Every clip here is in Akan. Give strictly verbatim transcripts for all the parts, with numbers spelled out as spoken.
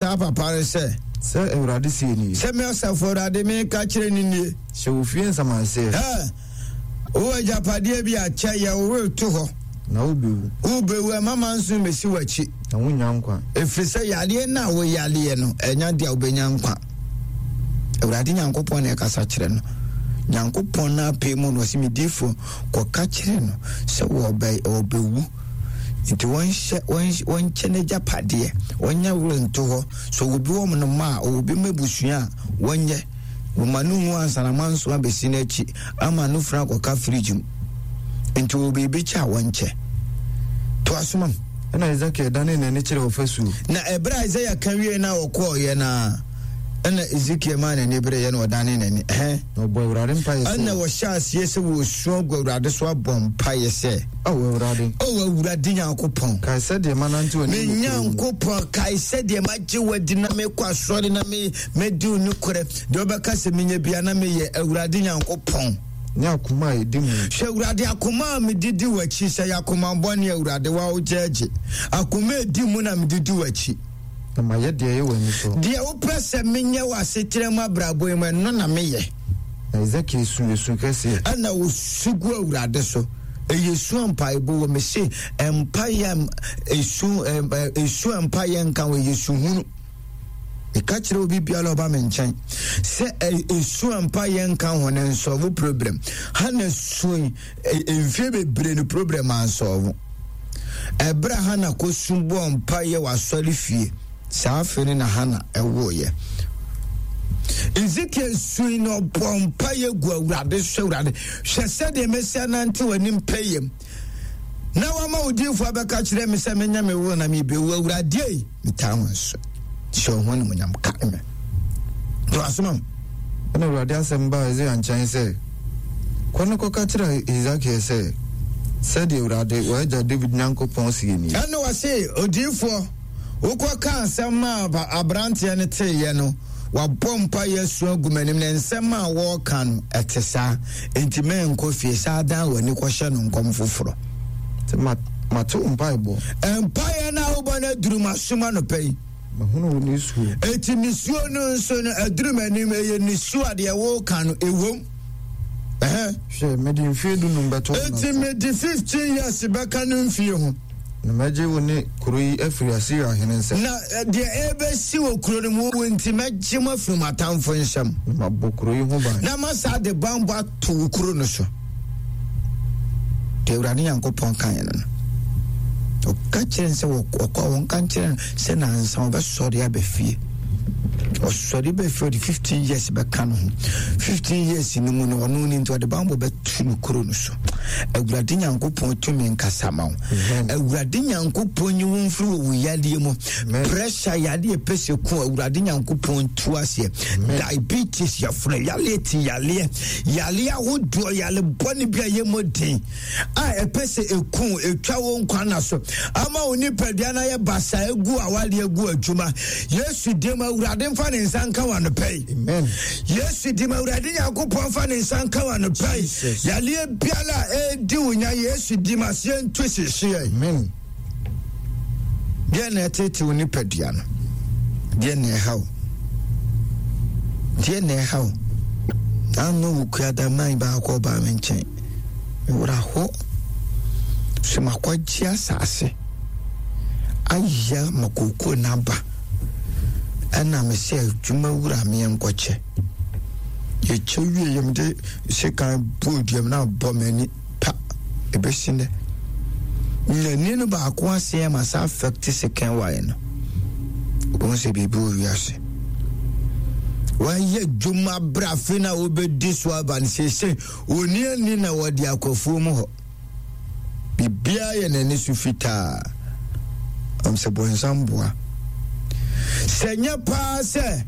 saa papa no sɛ, Sɛ Awurade seɛ nie. Sɛ me Asafo Awurade meka kyerɛ no nie. Hyɛ wo fie nsamanseɛ. Ɛ, wowɔ agyapadeɛ bi a, kyɛ, yɛ wo were to hɔ. Na wobɛwu. Wobɛwu, ɛmma manso mmɛsi w'akyi. Na wonnya nkwa. Ɛfiri sɛ yareɛ no a woyareɛ no, ɛnyɛ adeɛ a wobɛnya nkwa. Awurade Nyankopɔn na ɛkasa kyerɛ no. Nyankopɔn no apɛ mu no, ɔse, me difoɔ, kɔka kyerɛ no sɛ wɔbɛ, wɔbɛwu. Nti wɔnhyɛ, wɔnkyɛ n'agyapadeɛ, wɔnyɛ were nto hɔ. So obi wɔ no mma a, ɔwɔ bi ma abusua a, wɔnyɛ. Wɔma no nwu ansa na manso abɛsi n'akyi ama no funu akɔka fridge mu. Nti wɔ biribi kyɛ a wɔnkyɛ. To asoma m. Ɛna Ezekiel danee n'ani kyerɛɛ ɔfasuo. Na ɛberɛ a Isaiah ka wie na ɔkɔɔeɛ no a, ɛna Ezekiel maa n'ani bereeɛ na ɔdanee n'ani. Ɛhɛn. Na ɔbɔɔ Awurade mpaeɛ sɛ. Ɛna wɔhyɛɛ aseɛ sɛ wɔresu agu Awurade so abɔ mpaeɛ sɛ. Ao Awurade. Ao Awurade Nyankopɔn. Kae sɛdeɛ manante w'anim Me nokorɛ mu. Nyankopɔn, kae sɛdeɛ magye wo adi na mekɔ asɔre na me, medi wo nokorɛ. Deɛ wobɛka sɛ menyɛ biara na meyɛ, Awurade Nyankopɔn. Ne akoma a ɛdi mu. Hwɛ Awurade, akoma a mede di w'akyi, sɛ ɛyɛ akoma bɔne a, Awurade, wo ara wogyɛɛgye. Akoma a ɛdi mu na mede di w'akyi. Na mayɛ deɛ ɛyɛ w'ani so. Deɛ wopɛ sɛ menyɛ wɔ asetena mu abrabɔ yi mu, ɛno na meyɛ. Na Hesekiel su esu kɛseɛ. Ɛna ɔsu gu Awurade so. Ɛyɛ su a mpaebɔ wɔ. Mese mpaeɛ a esu, esu a mpaeɛ nka ho, ɛyɛ su hunu. Meka kyerɛ obi biara ɔba me nkyɛn sɛ esu a mpaeɛ nka ho no nsɔlvo problem. Hana sui mfie bebree no problem ansɔlvo. Ɛberɛ a Hana kɔsu bɔɔ mpaeɛ wɔ asɔre fie, saa afe no na Hana ɛwoeɛ. Ezekiel sui na ɔbɔɔ mpaeɛ gu Awurade so. Awurade, hwɛ sɛdeɛ mɛsi anante w'anim pɛyɛm na wama wo diifoɔ abɛka kyerɛ me sɛ menyɛ me wo na mebɛwu. Awurade ei, metaa wo nso. Hyɛ wo ho animuonyam, kae me. To asoma m. Ɛnna Awurade asɛm baa Yesaia nkyɛn sɛ, Kɔ na kɔka kyerɛ Hesekiel sɛ, 'Sɛdeɛ Awurade, w'agya Dawid Nyankopɔn seɛ nie. Ɛnna ɔse, Odiyifoɔ, wokɔkaa asɛm maa aberanteɛ no teeɛ no, wabɔ mpaeɛ asu agu m'anim, na nsɛm a wɔreka no, ɛte saa. Enti menkɔ fie, saa dan w'ani kɔhyɛ no nkɔm foforɔ. Sɛ mate wo mpaebɔ. Mpaeɛ no a wobɔ no aduru m'asom anɔpa yi. Mahunu wo nisuo. Enti nisuo no nso no aduru m'anim, ɛyɛ nisuo a deɛ woka no ɛwom. Hwɛ, mede mfeɛ dunum bɛto wo Enti mede fifteen years bɛka no mfie ho. Na mɛgye wo ne kuro yi afiri Asiria hene nsam. Na deɛ ɛrebɛsi wɔ kuro no mu, wo nti mɛgye mo afiri mo atamfo nsam. Na mabɔ kuro yi ho ban. Na masa de banbɔ ato wo kuro no so. Deɛ Awurade Nyankopɔn kaeɛ no no. Ɔka kyerɛ no sɛ ɔkɔ a wɔnka nkyerɛ no sɛ nansa ɔbɛsɔre aba fie. Ɔsɔre ba fie ɔde fifteen years bɛka no ho. fifteen years no mu no ɔno ne nti ɔde banbɔ bɛto no kuro no so. Awurade Nyankopɔn tumi nkasa ma wo. Awurade Nyankopɔn nyi wo mfiri wɔ wo yadeɛ mu. Pressure yadeɛ pɛ sɛ ku Awurade Nyankopɔn tu aseɛ. Diabetes yɛfrɛ yadeɛ ti yadeɛ yadeɛ ahodoɔ yale bɔne bi a yɛ den a ɛpɛ sɛ ɛku ɛtwa wo nkwa na so ama wo nipadua no ayɛ basaa egu awadeɛ egu adwuma. Yesu dim, Awurade mfa ne nsa nka wɔ anɔpa yi. Yesu dim, Awurade Nyankopɔn mfa ne nsa nka wɔ anɔpa yi. Yadeɛ biara a ɛredi wo nya, Yesu dim, aseɛ nto hyehyeɛ. Deɛ na ɛtete wo nipadua no, deɛ na ɛha wo, deɛ na ɛha wo. Ano wo kuada man baako ɔbaa me nkyɛn, mewura hɔ so makɔgye asase ayɛ ma kookoo n'aba, ɛna me sɛ adwuma wura meɛ nkɔkyɛ. Yɛkyɛ wie yɛ mede sekan bɔɔ duam na abɔ m'ani pa ɛbɛsi nnɛ. N'ani no baako aseɛ ma sa affect sekan wae no. Wobɛhu sɛ biribi wɔ wiase. Wayɛ adwuma berɛ afe no a wobɛdi so aba no seesei ɔni ani na wɔde akɔ mu hɔ. Biribiara yɛ n'ani so fitaa. Am sɛ bɔnsam boa. Sɛ nyɛ paa sɛ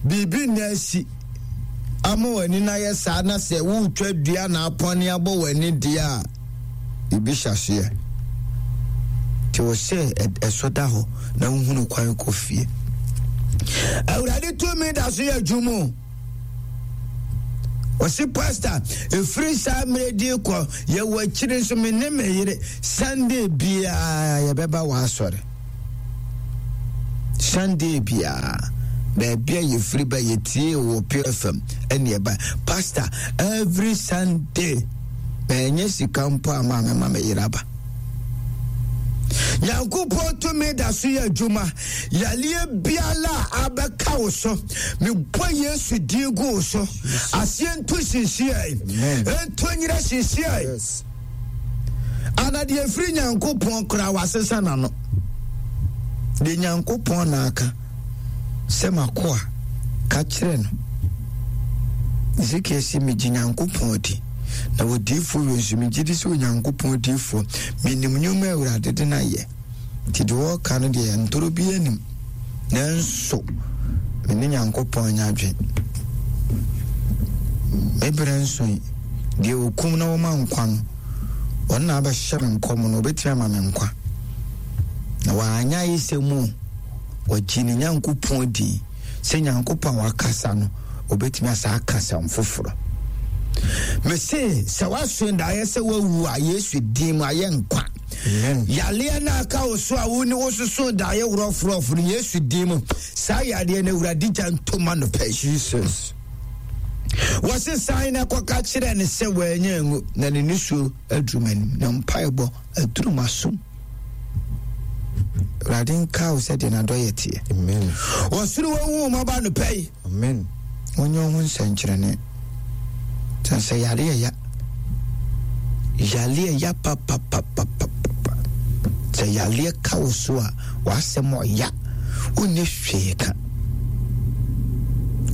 biribi na asi ama w'ani no ayɛ saa na sɛ woretwa dua na apɔne abɔ w'ani deɛ a, biribi hyɛ aseɛ. Nti wɔ sɛ ɛsɔ da hɔ na wohunu kwan kɔ fie. Awurade tumi da so yɛ adwuma o. Ɔsi pastor, ɛfiri saa mmerɛ di kɔ yɛwɔ akyiri nso me ne me yere Sunday biara yɛbɛba wɔ asɔre. Sunday biara baabi a yɛfiri ba yɛtie wɔ Pure F M ɛne ɛba. Pastor, every Sunday ɛnyɛ sika mpo a ma mɛma me yere aba. Nyankopɔn tumi da so yɛ adwuma. Yaleɛ biara a abɛka wo so, mebɔ Yesu din gu wo so, aseɛ nto hyehyeɛ, ɛnto nyerɛ hyehyeɛ. Yes. Ana deɛ firi Nyankopɔn koraa wasesa n'ano deɛ Nyankopɔn na aka sɛ makoa ka kyerɛ no. Ezekiel sɛ, "Megye Nyankopɔn di na wɔdiifoɔ wei nso megye di sɛ Onyankopɔn diifoɔ. Menim nnwuma a Awurade de no ayɛ, nti deɛ wɔreka no deɛ, ntoro bi anim, nanso me ne Nyankopɔn anya adwen. Me berɛ nso yi, deɛ ɔkum na wɔma nkwa no, ɔno na abɛhyɛ me nkɔm no, ɔbɛtumi ama me nkwa." Na wanyɛ ayɛ sɛ mu wɔgye ne Nyankopɔn di sɛ Nyankopɔn a wakasa no, ɔbɛtumi asa aka asɛm foforɔ. Mese sɛ woasoe daeɛ sɛ woawu a, Yesu din mu ayɛ nkwa. Amen. Yaleɛ no aka wo so a wo ne wososo daeɛ worɔforɔfo no, Yesu din mu, saa yadeɛ no, Awurade gya ntoma no pɛ. Jesus. Wɔse san na kɔka kyerɛ ne sɛ wɔanya ngu na ne nisuo aduru m'anim na mpaebɔ aduru m'asom. Awurade nka wo sɛdeɛ n'adɔyɛ teɛ. Amen. Wɔsoro wɔhu mmɔba no pɛ yi. Amen. Wonyɛ wo ho nsɛnkyerɛnne sɛ sɛ yare ya yaleɛ ya papapapapapa. Sɛ yaleɛ ka wo so a, w'asɛm ɔya, wonyɛ hwee ka.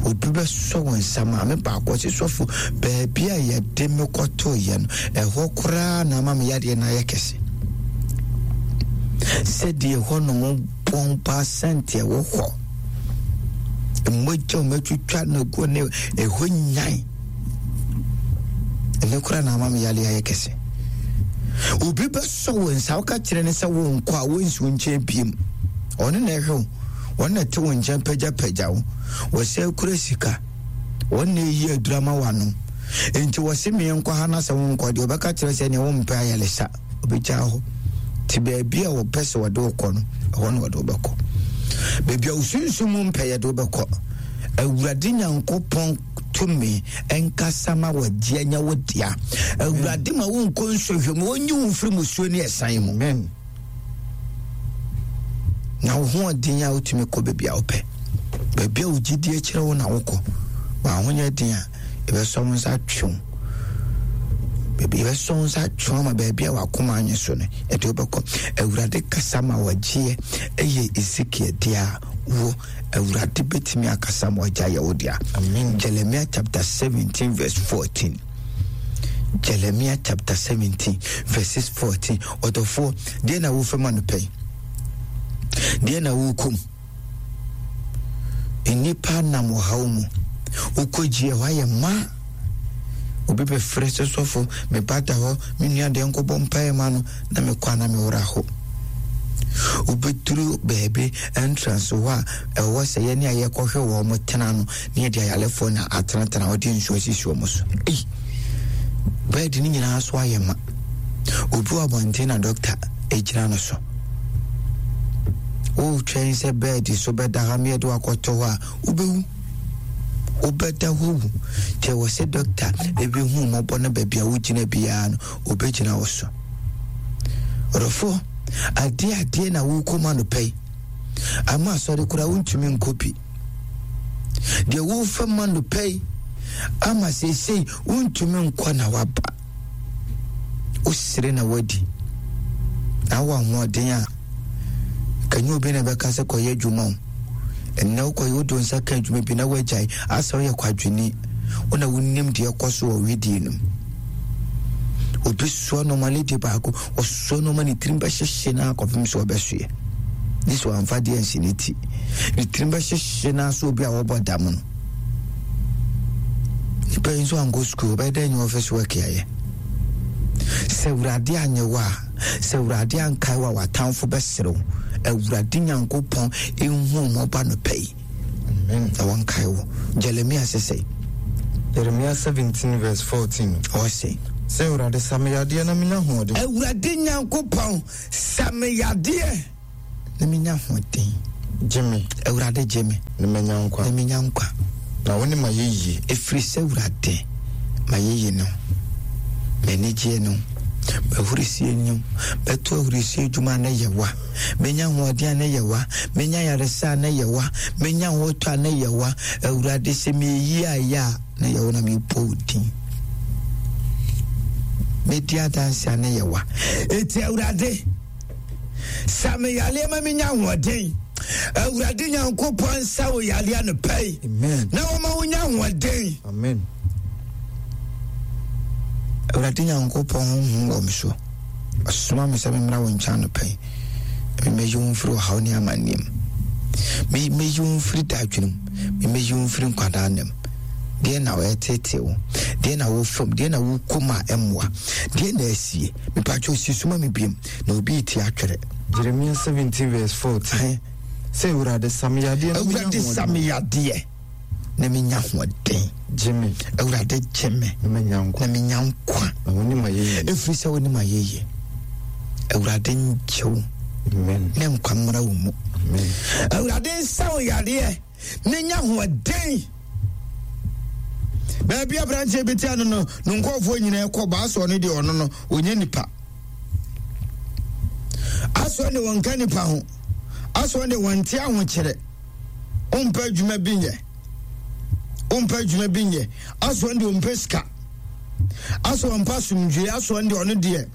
Obi bɛsɔ wo nsa. Maame baako ɔse, "Sɔfo, baabi a yɛde me kɔtoeɛ no, ɛhɔ koraa na ama me yadeɛ no ayɛ kɛse, sɛdeɛ ɛhɔ nom bɔn paa sɛnteɛ wɔ hɔ, mmogya a ɔmatwitwa no gu ne ɛhɔ nyan, ɛno koraa na ama me yale ayɛ kɛse." Obi bɛsɔ wo nsa, woka kyerɛ ne sɛ wonkɔ a, wonsi wo nkyɛn biem. Ɔno na ɛhwɛ wo, wɔn na ɛte wo nkyɛn pagyapagya wo, wɔsɛ kura sika, wɔn na ɛyi aduru ama w'anom. Enti wɔse meɛnkɔ ha na sɛ wonkɔ deɛ, wɔbɛka kyerɛ sɛ neɛ wompɛ ayɛlesa, obɛgyaa hɔ. Nti baabi a wɔpɛ sɛ wɔde wo kɔ no, ɛhɔ na wɔde wo bɛkɔ. Baabi a wosunsum mu mpɛ, yɛde wo bɛkɔ. Awurade Nyankopɔn tumi ɛnkasa ma wɔgye anya wo dea. Awurade ma wonkɔ nsɔhwɛ mu, wɔnyi wo mfiri musuo ne ɛsan mu. Amen. Na wo hoɔden a wotumi kɔ baabi a wopɛ, baabi a wo gyidie kyerɛ wo na wokɔ. W'ahonyɛ den a, yɛbɛsɔ wo nsa atwe wo baabi, yɛbɛsɔ wo nsa atwe wo ama baabi a wakoma anyɛ so no, yɛde wobɛkɔ. Awurade kasa ma wɔgyeɛ ɛyɛ Ezekiel deɛ a, wo Awurade bɛtumi akasa ma ɔgya yɛ wo dea. Amen. Jeremiah chapter seventeen verse fourteen. Jeremiah chapter seventeen verses fourteen. Ɔdɔfoɔ, deɛ na wofɛ no pɛn, deɛ na wokom, nnipa nam ɔhaw mu, wokɔgye ɛhɔ ayɛ ma obi bɛfrɛ sɛ, "Sɔfo, meba da hɔ, me nua deɛ, nkɔbɔ mpaeɛ ma no," na mekɔ a na mewora hɔ. Wobɛduru baabi entrance hɔ a ɛwɔ sɛ yɛne a yɛkɔhwɛ wɔ mo tena no, ne yɛde ayalefoɔ na atenatena, wɔde nsuo asisi wɔ mo so. Ei, bed no nyinaa so ayɛ ma. Obi wɔ abɔnten na dɔkta gyina no so, wotwɛn sɛ bed so bɛda ha meɛde wakɔtɔ hɔ a, wobɛwu, wobɛda hɔ wu. Nti ɛwɔ sɛ dɔkta ɛbɛhu mmɔbɔ no, baabi a wogyina biara no, obɛgyina wo so. Ɔdɔfoɔ, adeɛ adeɛ na wokɔma no pɛi ama asɔre koraa wontumi nkɔ bi. Deɛ wofa ma no pɛi ama seesei wontumi nkɔ na waba, wosere na wadi na wowɔ ahoɔden a, kanyɛ obi na ɛbɛka sɛ kɔyɛ adwuma o. Ɛnnɛ wokɔyɛ, wode wo nsa ka adwuma bi na woagyae asɛ woyɛ kwadwene. Wo na wonim deɛ ɛkɔ so wɔ wedie no mu. Obi soa nɔɔma, lady baako ɔsoa nɔɔma, ne tirim bɛhyehye no akɔpem sɛ ɔbɛsoɛ gye sɛ wamfa deɛ nsi ne ti, ne tirim bɛhyehye no so. Obi a wɔbɔ dam no, nipa yi nso ankɔ sukuu, ɔbɛyɛ dɛ nyɛ office work ayɛ. Sɛ Awurade anyɛ wo a, sɛ Awurade ankae wo a, w'atamfo bɛserew. Awurade Nyankopɔn ɛhu mmɔba no pɛ yi Amen. na wɔnkae wo. Jeremia sɛ sɛ Jeremiah seventeen verse fourteen. Ɔse Sɛ Awurade, sa me yadeɛ na menya ahoɔden. Awurade Nyankopɔn, sa me yadeɛ na menya ahoɔden. Gye me. Awurade gye me. Na manya nkwa. Na menya nkwa. Na wo ne ma yɛ yie. Ɛfiri sɛ Awurade ma yɛyi no. M'ani gyeɛ no. M'ahurisie no. Bɛto ahurisie adwuma a na yɛ wa. Menya ahoɔden a na yɛ wa. Menya yaresa a na yɛ wa. Menya ahotɔ a na yɛ wa. Awurade sɛ meyi ayɛ a na yɛ wo na mebɔ wo din. Medi adanse a na yɛ wa. Eti Awurade sa me yareɛ ma menya ahoɔden. Awurade Nyankopɔn nsa wo yareɛ no pɛi. Amen. Na wɔma wonya ahoɔden. Amen. Awurade Nyankopɔn honhom wɔ me so. Ɔsoma me sɛ memmra wo nkyɛn anɔpa yi. Memmɛyi wo mfiri ɔhaw ne amanneɛ mu. Memmɛyi wo mfiri dadwene mu. Memmɛyi wo mfiri nkwadaa nna mu. Deɛ na wɔɛtete wo, deɛ na wɔfam, deɛ na wokɔ mu a ɛmmoa, deɛ na asie. Mepatwa osi soma me biem na obi ti atwerɛ. Jeremia seventeen verse fourteen. Sɛ Awurade sa me yadeɛ na menya Awurade sa ahoɔden. me yadeɛ na menya ahoɔden. Gye me. Awurade gye me. Na manya nkwa. Na menya nkwa. Na wo ne ma yɛ yie. Ɛfiri sɛ wo ne ma yɛ yie. Awurade ngye wo. Amen. Ne nkwa mmra wo mu. Amen. Awurade nsa wo yadeɛ na nya ahoɔden. Baabi aberanteɛ bi tia no no, ne nkurɔfoɔ nyinaa kɔ ba asɔ no deɛ ɔno no, ɔnyɛ nipa. Asɔ ne wɔnka nipa ho. Asɔ ne wɔnte ahokyerɛ. Wompɛ adwuma bi nyɛ. Wompɛ adwuma bi nyɛ. Asɔ ne ɔmpɛ sika. Asɔ ɔmpɛ asomdwoe. Asɔ ne ɔno deɛ,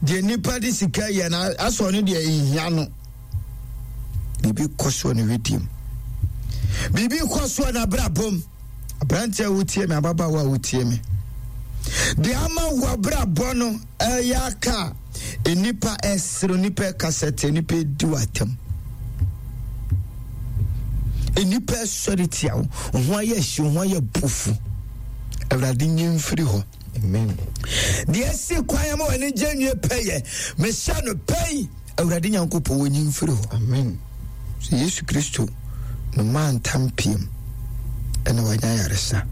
deɛ nipa de sika yɛ na asɔ ne deɛ nhia no. Biribi kɔ soɔ ne wediem. Biribi kɔ soɔ n'abrabɔ mu. Aberanteɛ a wotie me, ababaawa a wotie me, deɛ ama wo abrabɔ no ɛyɛ aka a nnipa ɛsere, nnipa ɛkasa tia, nnipa ɛdi wo atam, nnipa ɛsɔre tia wo, wo ho ayɛ hye, wo ho ayɛ bufu. Awurade nyi mfiri hɔ. Amen. Deɛ ɛsi kwan ama w'ani gye nwie pɛyɛ, mehyɛ no pɛi, Awurade Nyankopɔn wɔnyi mfiri hɔ. Amen. So Yesu Kristo no maa ntam piem ɛna wanya yaresa.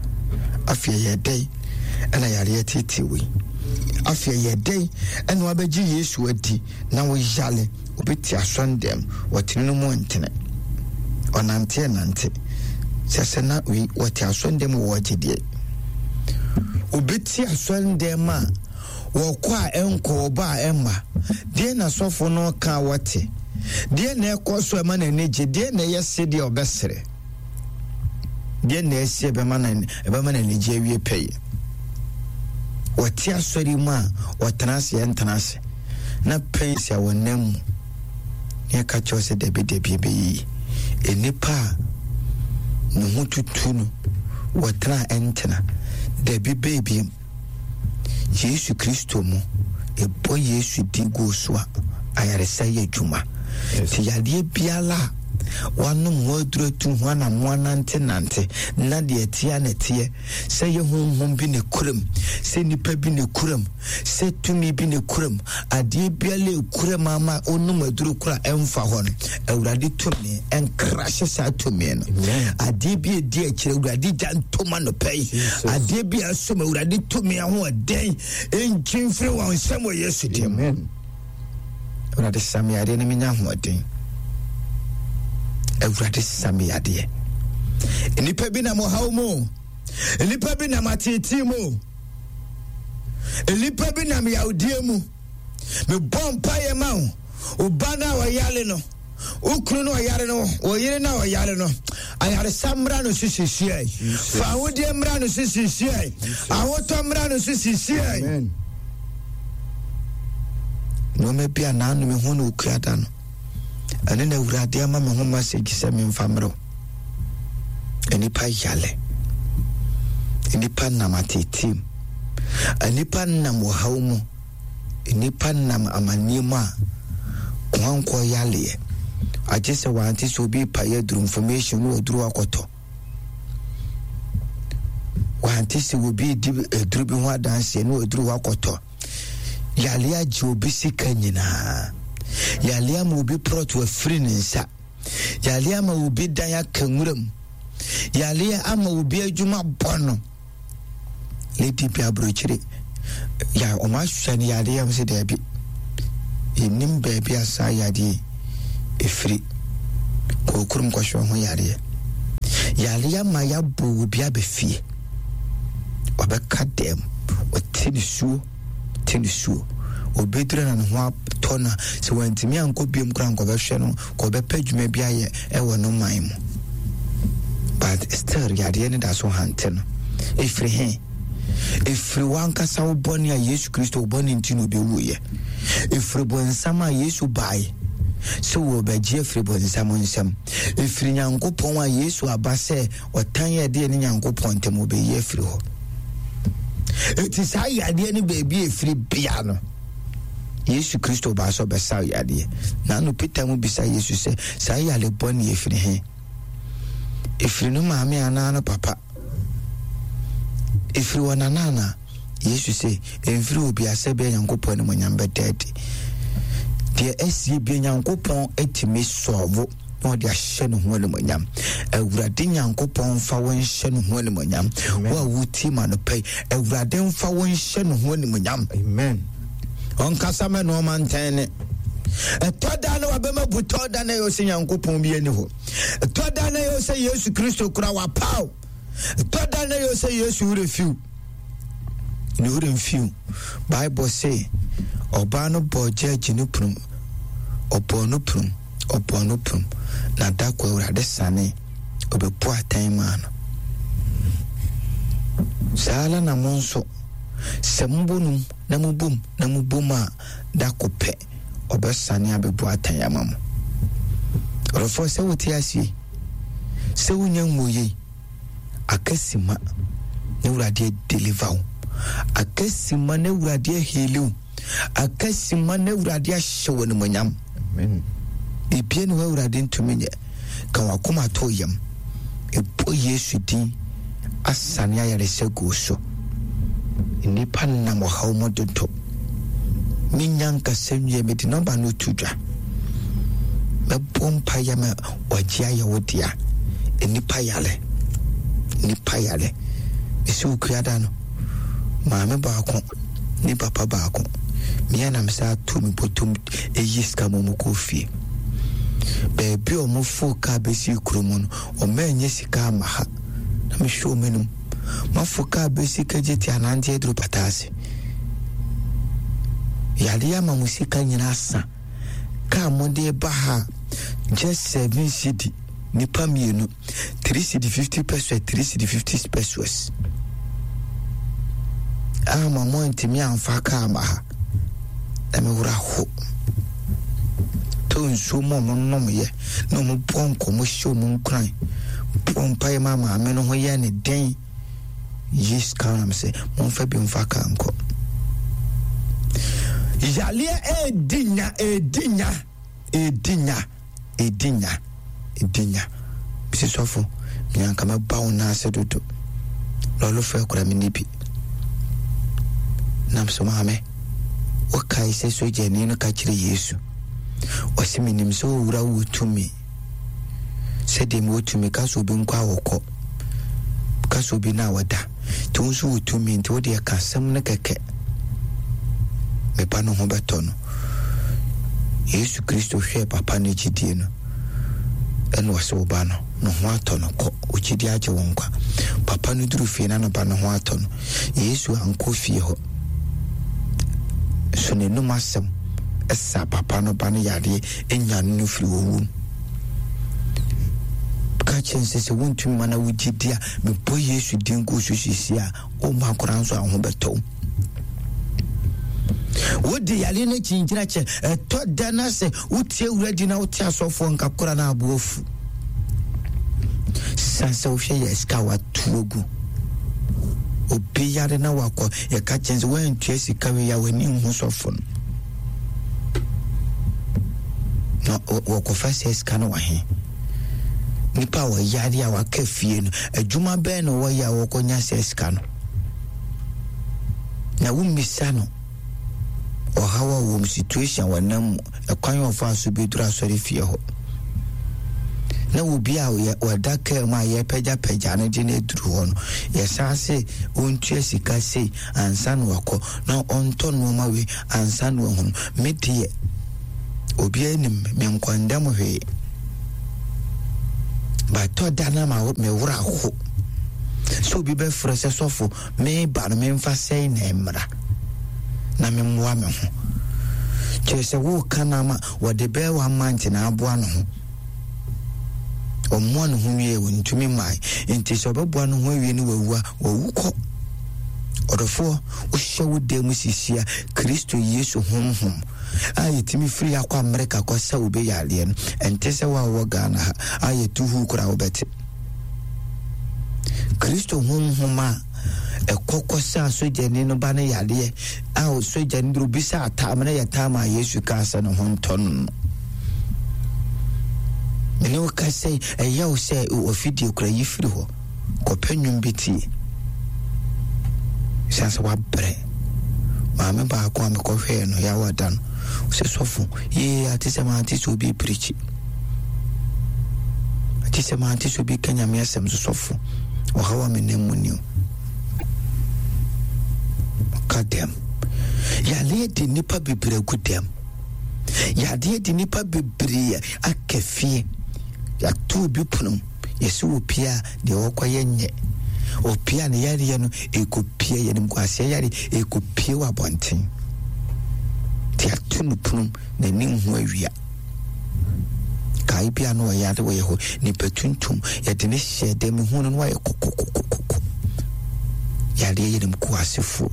Afei ɛyɛ dɛn ɛna yareɛ tete wei? Afei ɛyɛ dɛn ɛna wabɛgye Yesu adi na woyale? Obi te asɔndɛm, wɔtene no mu ntene, ɔnante nante sɛ sɛ na wei wɔte asɔndɛm wɔ wɔgye deɛ. Obi te asɔndɛm a wɔkɔ a ɛnkɔ, wɔba a ɛmma. Deɛ na sɔfo no ka wɔte, deɛ na ɛkɔ so ɛma n'ani gye, deɛ na ɛyɛ se deɛ ɔbɛsere, deɛ na ɛsi ɛbɛma n'ani, ɛbɛma n'ani gye awie pɛyɛ. Wɔte asɔre mu a wɔtena ase, ɛntena ase na pɛnsi a wɔnam mu ne ɛka kyerɛ sɛ dabi dabi ɛbɛyiyi. Nnipa a ne ho tutu no wɔtena a ɛntena dabi baabi. Yesu Kristo mu ɛbɔ Yesu di gu so a ayaresa yɛ adwuma. Nti yadeɛ biara a wanom ho aduru atu ho anamoa nante nante na deɛ ɛteɛ na ɛteɛ, sɛ yɛ honhom bi ne kuram, sɛ nipa bi ne kuram, sɛ tumi bi ne kuram, adeɛ biara ekuram ama onom aduru kora ɛmfa hɔ no, Awurade tumi ɛnkrahye saa tumi no. Adeɛ bi edi akyire, Awurade gya ntoma no pɛ yi. Adeɛ bi asom, Awurade tumi ahoɔden nkyi mfiri wɔn nsam wɔ Yesu dim. Amen. Awurade sami adeɛ na menya ahoɔden. Awurade sami adeɛ. Nnipa bi nam ɔhaw mu, nnipa bi nam ateetee mu, nnipa bi nam yawdie mu. Mebɔ mpaeɛ ma wo, wo ba no a ɔyare no, wo kunu no ɔyare no, wo yere no a ɔyare no, ayaresa mmra no so sisiɛ. Fa ahodeɛ mmra no so sisiɛ. Ahotɔ mmra no so sisiɛ. Amen. Nneɛma bi a naanu me ho na okua da no, ɛne na Awurade ama me ho message sɛ memfa mmerɛw. Nnipa yale, nnipa nam ateetee mu, nnipa nam ɔhaw mu, nnipa nam amanneɛ mu a koankɔ yaleɛ. Agye sɛ wante sɛ obi pa yɛ aduru information na waduru akɔtɔ. Wante sɛ obi di aduru bi ho adanseɛ na waduru akɔtɔ. Yale agye obi sika nyinaa. Yale ama obi prɔto afiri ne nsa. Yale ama obi dan aka nwuram. Yale ama obi adwuma bɔ no. Lady bi aburokyire. Ya ɔmo ahwɛ no yale am sɛ daabi. Yɛnim baabi a saa yadeɛ efiri. Kɔ kurom kɔhwɛ ho yareɛ. Yareɛ ama yɛabɔ obi aba fie. Ɔbɛka dɛm, ɔte ne suo, te ne suo. Obɛduru na ne ho atɔ no a, sɛ wantumi ankɔ biom koraa nkɔbɛhwɛ no, kɔbɛpɛ adwuma bi ayɛ ɛwɔ no man mu. But still yareɛ no da so hante no. Ɛfiri he? Ɛfiri wankasa wo bɔne a Yesu Kristo wo bɔne nti na ɔbɛwuiɛ. Ɛfiri bɔnsam a Yesu bae sɛ wɔbɛgye afiri bɔnsam nsam. Ɛfiri Nyankopɔn a Yesu aba sɛ ɔtan yɛ deɛ ne Nyankopɔn ntam wɔbɛyi afiri hɔ. Ɛti saa yadeɛ no baabi a ɛfiri bia no, Yesu Kristo baa sɛ ɔbɛsa yadeɛ. Na ano Peter mu bisa Yesu sɛ, saa yare bɔne ɛfiri he? Ɛfiri no maame anaa no papa? Ɛfiri wɔ nana anaa? Yesu sɛ, ɛmfiri obi asɛ bia Nyankopɔn animuonyam bɛda adi. Deɛ asie bia Nyankopɔn atumi sɔɔvo na ɔde ahyɛ ne ho animuonyam. Awurade Nyankopɔn mfa wo nhyɛ ne ho animuonyam. Wo a wotie ma no pɛ, Awurade mfa wo nhyɛ ne ho animuonyam. Amen. Ɔnkasa mɛ nneɛma ntɛn ne. Ɛtɔ da na wabɛma bu tɔ da na ɛyɛ sɛ Nyankopɔn bi ani hɔ. Ɛtɔ da na ɛyɛ sɛ Yesu Kristo kura wapaw. Ɛtɔ da na ɛyɛ sɛ Yesu werɛ fiw. Ne werɛ mfiw. Bible say ɔbaa no bɔɔ gyɛɛgye no prum. Ɔbɔɔ no prum. Ɔbɔɔ no prum. Na da kɔ Awurade sane ɔbɛbu atɛn maa no. Saa ara na mo nso, sɛ mobɔ num na mobom na mobom a, da ko pɛ ɔbɛsane abɛbu atɛn ama mo. Ɔdɔfoɔ, sɛ wote aseɛ, sɛ wonya nwuoyei, akasima na Awurade deliver wo. Akasima na Awurade aheal wo. Akasima na Awurade ahyɛ wo animuonyam. Amen. Biribiara ne hɔ Awurade ntumi nyɛ. Ka wakoma to yam. Ɛbɔ Yesu din asane ayaresa gu so. Nnipa nam ɔhaw mu dodo. Menya nkasa nwie, mede nɔmba no to dwa. Mɛbɔ mpaeɛ ma wagye ayɛ wo dea. Nnipa yare. Nnipa yare. Mesi wo kuada no, maame baako ne papa baako. Mea na mesa ato me bɔtɔm ɛyi sika ma ɔmo kɔ fie. Baabi a ɔmo fo kaa bɛsi kurom no, ɔmo anyɛ sika ama ha. Na mehwɛ ɔmo anim. Mafo kaa bɛsi kagye te anante aduru pata ase. Yare ama mo sika nyinaa sa. Kaa mo de ba ha, just seven cedi, nipa mmienu, three cedi fifty pesos, three cedi fifty pesos. Ama mo antumi amfa kaa ma ha. Na mewura ho. To nsuo mu a ɔmo nomyɛ na ɔmo bɔ nkɔmmɔ hyɛ ɔmo nkuran. Bɔ mpaeɛ ma maame no ho yɛ ne den. Yi sika nam sɛ momfa bi mfa kaa nkɔ. Yaleɛ ɛɛdi nya, ɛɛdi nya, ɛɛdi nya, ɛɛdi nya, ɛɛdi nya. Mesi sɔfo, menyanka mɛba wo nan ase dodo. Lɔlɔfo kura me ni bi. Nam so maame, wɔkae sɛ sogyani no ka kyerɛ Yesu. Ɔse menim sɛ owura wo tumi. Sɛdeɛ mewɔ tumi, ka sɛ obi nkɔ a wɔkɔ. Ka sɛ obi na wɔda. Nti wo nso wɔ tumi, nti wode ɛka asɛm no kɛkɛ. Mepa no ho bɛtɔ no. Yesu Kristo hwɛɛ papa no gyidie no, ɛna ɔse wo ba no, ne ho atɔ no kɔ. Wo gyidie agye wo nkwa. Papa no duru fie na ne ba no ho atɔ no. Yesu ankɔ fie hɔ. So n'anum asɛm ɛsa papa no ba no yareɛ ɛnya no no firi owu mu. Ka kyerɛ sɛ sɛ wontumi ma na wo gyidie a, mebɔ Yesu din gu so sisi a, womma koraa nso a wo ho bɛtɔ wo. Wode yare no kyinkyina kyɛ, ɛtɔ da na sɛ wotie wura di na wote asɔfoɔ nka kora na aboa fu. San sɛ wohwɛ yɛ sika wato agu. Obi yare na wakɔ, yɛka kyɛn sɛ woantua sika wei a w'ani nhu sɔfo no. Na wɔkɔfa sɛ sika no wɔ he? Nipa a wɔyare a waka fie no, adwuma bɛn na wɔyɛ a wɔkɔnya sɛ sika no? Na wommisa no ɔhaw a wɔm situation a wɔnam mu, ɛkwan a ɔfa so bɛduru asɔre fie hɔ. Na obi a wɔda kaa mu a yɛpɛgyapɛgya no de no aduru hɔ no, yɛsan se ɔntua sika sei ansa na wakɔ, na ɔntɔ nneɛma wei ansa na wahunu. Me deɛ, obiara nim me nkɔndɛm hwee. Batɔ da na ma me wura ho. So obi bɛfrɛ sɛ sɔfo meba no memfa sɛe na mmra na memmoa me ho. Kyerɛ sɛ woka no ama wɔde bɛɛ one month na aboa no ho. Ɔmmoa ne ho wie wɔntumi mmae. Nti sɛ ɔbɛboa no ho awie ne wawu a, wawu kɔ. Ɔdɔfoɔ, wohyɛ wo dan mu sisia Kristo Yesu honhom a yɛtumi firi akɔ Amerika kɔ sɛ wobɛyɛ no, ɛnte sɛ wo a wowɔ Ghana ha a yɛtu hu koraa wobɛte. Kristo honhom a ɛkɔkɔ sɛ asogyani no ba no yadeɛ a sogyani duro bi sɛ atam na yɛ tam a Yesu kaa sɛ ne ho ntɔ no no. Mene wo ka sɛ ɛyɛ wo sɛ ɔfidie kora yi firi hɔ kɔpɛ nnwom bi tie. Siane sɛ wabrɛ. Maame baako a mekɔhwɛɛ no yɛawa da no sɛ sɔfo yee ate sɛ maante sɛ obi pirikyi, ate sɛ maante sɛ obi ka Nyame asɛm so sɔfo ɔhaw a menam mu ni o. Ka dɛm yadeɛ de nnipa bebree agu dɛm, yadeɛ de nnipa bebree aka fie. Yɛato obi pono yɛsɛ wɔ pie a deɛ wɔkɔyɛ nyɛ opie a ne yareɛ no ɛkɔpie yɛnim kwaseɛ yare ɛkɔpie wɔ abɔnten. Nti yɛato no pono n'ani nhu awia. Kae bi a na ɔyare wɔ yɛ hɔ nipa tuntum yɛde ne hyɛ dɛm hu no na wayɛ kɔkɔkɔkɔkɔ. Yareɛ yɛnim kwasefoɔ.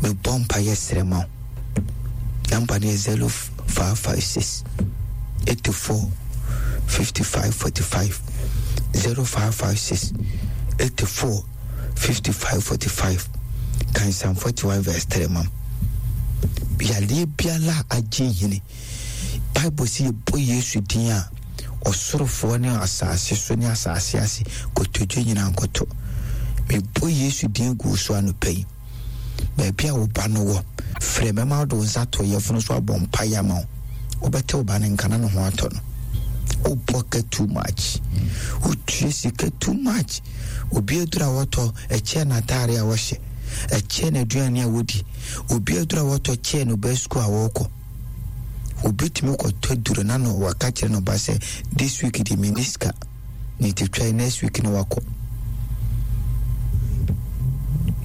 Mebɔ mpa yɛ srɛ ma wo. Number no yɛ zero five five six eighty four fifty five forty five zero five five six eighty four fifty five forty five. Kan Psalm forty one verse three mam. Yadeɛ biara agye hene. Bible sɛ yɛbɔ Yesu din a ɔsorofoɔ ne asase so ne asase ase kotodwe nyinaa nkɔtɔ. Mebɔ Yesu din gu so anɔpa yi. Baabi a wo ba no wɔ, frɛ mɛma wode wo nsa to yɛfono so abɔ mpaeɛ ama wo. Wobɛte wo ba no nka na ne ho atɔ no. Wobɔ ka too much. Wotua sika too much. Obi aduru a wɔtɔ ɛkyɛ n'ataare a wɔhyɛ, ɛkyɛ n'aduane a wɔdi. Obi aduru a wɔtɔ kyɛ no ba sukuu a wɔkɔ. Obi tumi kɔtɔ duro na no waka kyerɛ no ba sɛ this week de menni sika. Ne ti twa next week na wakɔ.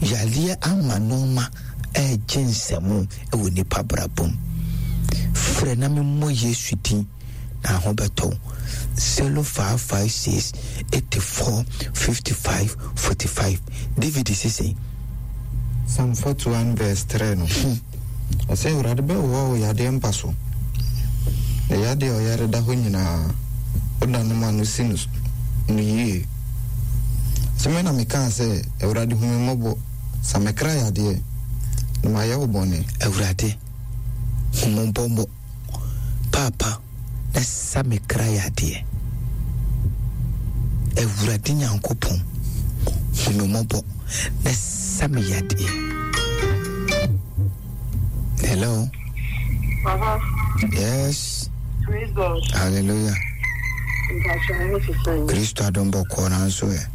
Yadeɛ ama nneɛma ɛregye nsɛm ɛwɔ nipa brabom. Frɛ na memmɔ Yesu din na ho bɛtɔ. zero five five six eighty four fifty five forty five. David sisi. Psalm forty one verse three no. Ɔsɛ Awurade bɛwowa wo yadeɛ mpa so. Na yadeɛ a ɔyare da hɔ nyinaa, woda no ma no si no no yie. Sɛ me na mekaa sɛ, Awurade hu me mmɔbɔ, sa me kra yadeɛ, na mayɛ wo bɔne. Awurade hu me mmɔbɔ, Papa, na sa me kra yadeɛ. Awurade Nyankopɔn hu me mmɔbɔ, na sa me yadeɛ. Hello. Papa. Yes. Praise God. Hallelujah. Kristo adom bɔkɔɔ nanso ɛ.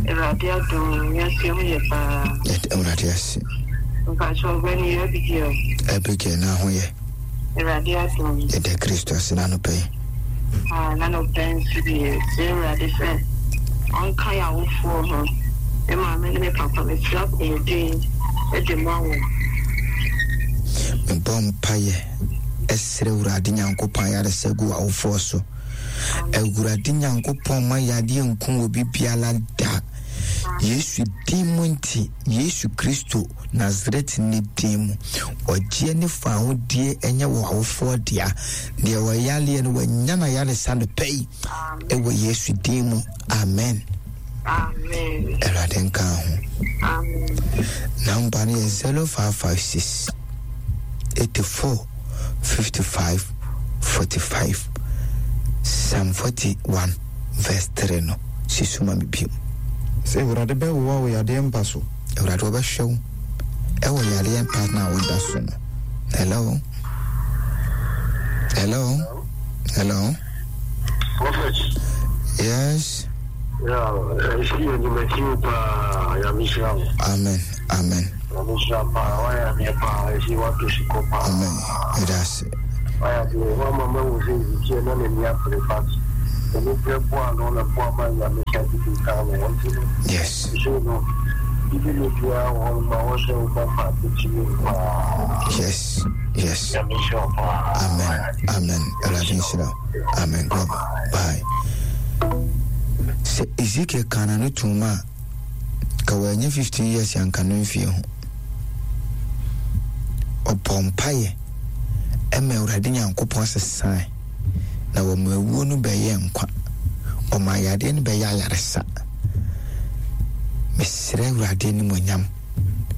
Awurade adom wiase ho yɛ paa. Awurade ase. Mpakyɛ ɔbɛn yɛ Abigail. Abigail na ho yɛ. Awurade adom. Yɛda Kristo ase n'anɔpa yi. Ah, n'anɔpa nso deɛ sɛ Awurade sɛ ɔnka yɛ awofoɔ ho. Me maame ne me papa mesrɛ apɔmuden de ma wɔn. Mebɔ mpaeɛ ɛsrɛ Awurade Nyankopɔn ayaresa gu awofoɔ so. Awurade Nyankopɔn ma yadeɛ nku obi biara da. Yesu din mu nti, Yesu Kristo Nasaret ne din mu, ɔgyeɛ ne fahodie ɛnyɛ wɔ awofoɔ dea. Deɛ wɔyaleɛ no wɔanya na yaresa no pɛ yi ɛwɔ Yesu din mu. Amen. Amen. Awurade nka ho. Amen. Number no yɛ zero five five six eighty four fifty five forty five. Psalm forty one verse three no sisuma mi bio. Sɛ Awurade bɛwowa wo yadeɛ mpa so. Awurade wɔbɛhwɛ wo ɛwɔ yadeɛ mpa na woda so no. Hello. Hello. Hello. Prophet. Yes. Yeah, I see you in the pa. Amen. Amen. Amen. It has. Yes. Yes. Yes. Amen. Amen. Awurade nhyira. Amen. God. Bye. Sɛ Ezekiel ka na no tum a ka wanya fifteen years anka no mfie ho. Ɔbɔ mpaeɛ ɛma Awurade Nyankopɔn sesae na wɔma awuo no bɛyɛ nkwa. Ɔma ayadeɛ no bɛyɛ ayaresa. Mesrɛ Awurade animuonyam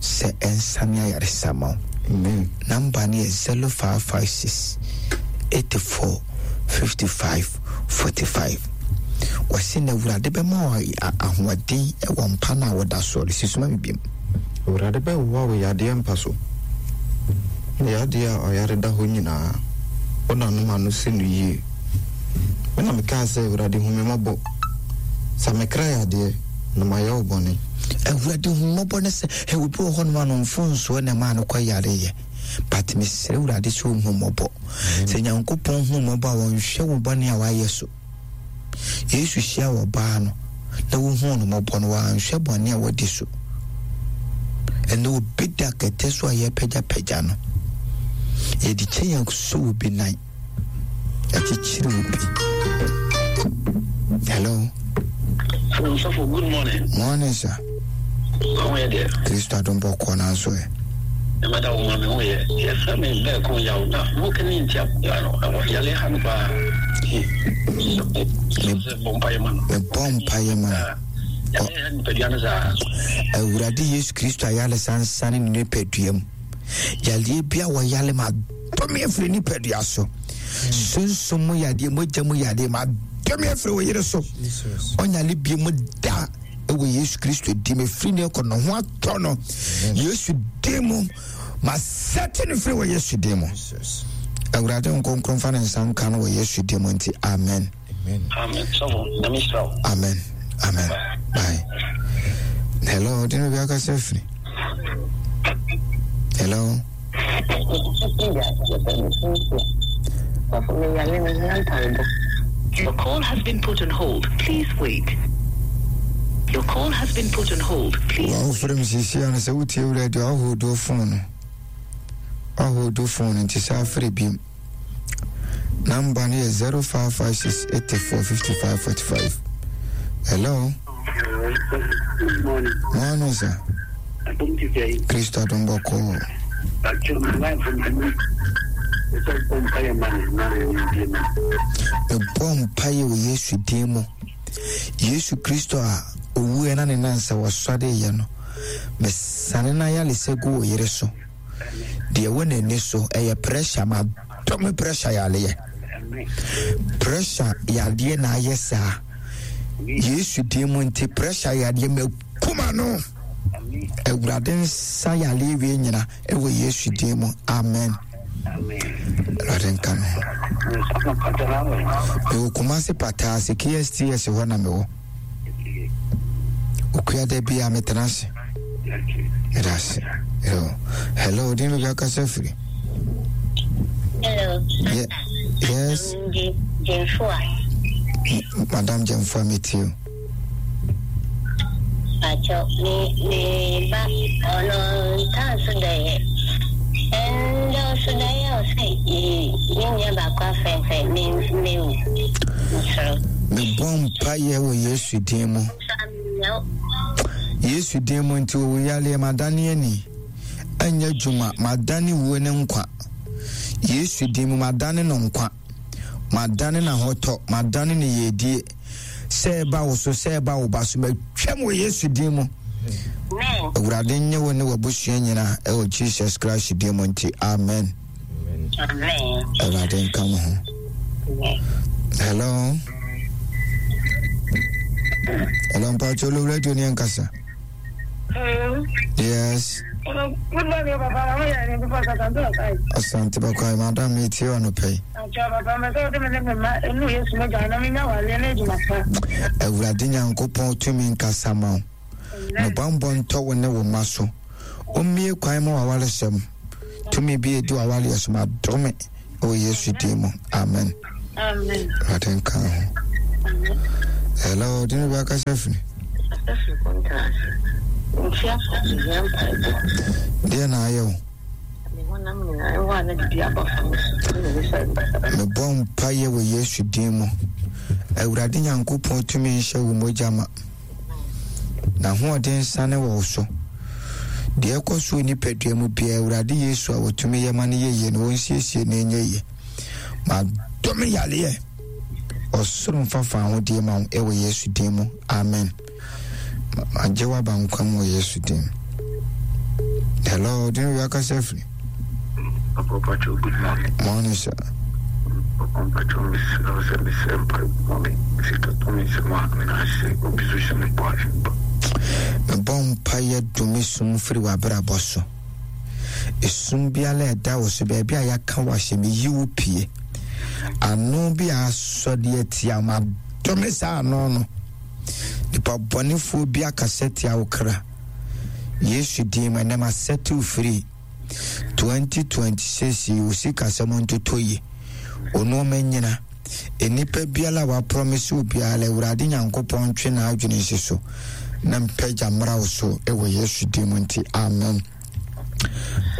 sɛ ɛnsane ayaresa ma wo. Number no yɛ zero five five six eighty four fifty five forty five. Wɔsi na Awurade bɛma wo ahoɔden wɔ mpa no a wɔda soɔ no. Si soma me biom. Awurade bɛwowa wo yadeɛ mpa so, ne yadeɛ a ɔyare da hɔ nyinaa, wo nanom ano si no yie. Me na mekaa sɛ, Awurade hu me mmɔbɔ, sa me kra yadeɛ, na mayɛ wo bɔne. Awurade hu mmɔbɔ ne sɛ ɛwɔ bi wɔ hɔ nom ano mfonsoɔ na ɛmaa no kɔ yareyɛ. But mesrɛ Awurade sɛ ɔhu mmɔbɔ. Sɛ Nyankopɔn hu mmɔbɔ a, wɔnhwɛ wo bɔne a wayɛ so. Yesu hyia wɔ baa no na wohuu no mmɔbɔ no, wanhwɛ bɔne a wadi so. Ɛnɛ obi da kɛtɛ so a yɛpagyapagya no, yɛde kyɛn so obi nan, yɛkyekyere obi. Hello. Hello, Safo, good morning. Morning, sir. How are you there? Kristo adom bɔkɔɔ nanso ɛ. Mada wo ma me ho yɛ. Yɛfrɛ me bɛɛko yaw na woka ne ntia yale ha no paa. Bɔ mpaeɛ ma no. Mebɔ mpaeɛ ma no. Awurade Yesu Kristo ayaresa nsane ne nipadua mu. Yareɛ bi a wɔyare ma dɔme afiri nipadua so. Sunsum mu yadeɛ, mogya mu yadeɛ ma dɔme afiri wo yere so. Ɔnyale bi mu da ɛwɔ Yesu Kristo di mu. Firi ne kɔ ne ho atɔ no. Yesu di mu. Ma sɛte no firi wɔ Yesu di mu. Awurade nkonkron fa ne nsa nka no wɔ Yesu di mu nti amen. Amen. Amen. Amen. Bye. Hello, dino bi akasa firi. Hello. Your call has been put on hold. Please wait. Your call has been put on hold. Please. Wa ofere msisi ana sɛ wotie radio ahodo phone. Ahodo phone nti sɛ afere bi. Number no yɛ zero five five six eight four fifty five forty five. Hello. Good morning. Morning, sir. Kristo adom bɔkɔɔ. Mebɔ mpaeɛ wɔ Yesu din mu. Yesu Kristo a owuɛ na ne nansa wɔsɔre yɛ no, mesane na ayaresa gu wo yere so. Deɛ ɛwɔ n'ani so ɛyɛ pressure, ma dɔme pressure yareɛ. Pressure yareɛ na ayɛ saa. Yesu din mu nti pressure yareɛ ma kuma no. Awurade nsa yareɛ wie nyina ɛwɔ Yesu din mu. Amen. Awurade nka no. Mewɔ Kumase Pataa ase K S T S hɔ na mewɔ. Okua da bi a metena ase. Meda ase. Hello, din baabi akasa firi. Hello. Yeah, yes. Jemfua. Madam Jemfua, meet you. Acho, me me ba ono ntanso da ye. Endo so da ye o se me nya ba kwa fefe me me wu. Me bɔ mpaeɛ wɔ Yesu din mu. Yesu din mu nti wo yale madane ani. Anya dwuma madane wuo ne nkwa. Yesu din mu madane no nkwa. Madane na hotɔ, madane ne yedie. Sɛ ba wo so, sɛ ba wo ba so, matwam wɔ Yesu din mu. Awurade nye wo ne w'abusua nyinaa ɛwɔ Jesus Christ din mu nti amen. Amen. Awurade nka mo ho. Hello. Hello, Mpacho Lo Radio ni ankasa. Hello. Yes. Hello. Good morning, Papa. How are you? Asante Bakwai, Madam, meet you on the pay. Awurade Nyankopɔn tumi nkasa ma wo. Ne bambɔ ntɔ wo ne wo mma so. Ommie kwan ma w'awaresɛm. Tumi bi edi w'awareɛ so ma dome ɛwɔ Yesu din mu. Amen. Amen. Awurade nka ho. Hello, dine bi akasa firi. Deɛ na ayɛ wo? Mebɔ mpaeɛ wɔ Yesu din mu. Awurade Nyankopɔn tumi nhyɛ wo mogya ma. N'ahoɔden nsane wɔ wo so. Deɛ ɛkɔ so wɔ nipadua mu biara, Awurade Yesu a wɔtumi yɛ ma no yɛ yie no, wɔnsiesie na ɛnyɛ yie. Madome yareɛ. Ɔsoro mfa fa ahodie ma wo ɛwɔ Yesu din mu. Amen. Magye w'aba nkwa mu wɔ Yesu din mu. Hello, din wi akasa firi. Papa Pacho, good morning. Morning, sir. Papa Pacho, mesrɛ wo sɛ mesrɛ mpaebɔ me sika tɔ me nsɛm a mena ase obi so hyɛ me bɔ ase ba. Mebɔ mpaeɛ dome sum firi w'abrabɔ so. Esum biara a ɛda wo so, baabi a yɛaka wo ahyɛ, meyi wo pie. Ano bi a asɔ de atia wo, madome saa ano no. Nipa bɔnefoɔ bi akasa tia wo kra. Yesu din mu, ɛnɛ masɛte wo firi. twenty twenty-six yi, wo sikasɛm ntotɔ yie. Wo nneɛma nyina. Nnipa biara a waprɔmise wo biara, Awurade Nyankopɔn ntwe n'adwene nsi so na mpagya mmra wo so wɔ Yesu din mu nti, amen.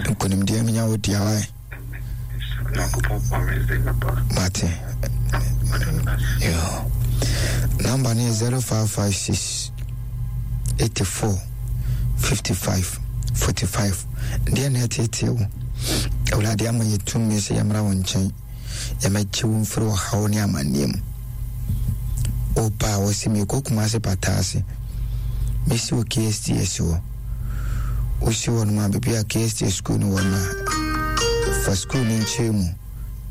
Nkonimdie nya wo dea wae. Mate. Yo. Number no yɛ zero five five six eighty-four fifty-five forty-five. Deɛ na ɛteetee wo, Awurade ama yɛ tumi sɛ yɛmmra wo nkyɛn, yɛmɛgye wo mfiri ɔhaw ne amanneɛ mu. Woba a wɔsi mekɔ Kumase pata ase, mesi wɔ K S T S hɔ. Wosi hɔ nom a, baabi a K S T S school no wɔ no a, fa school no nkyɛn mu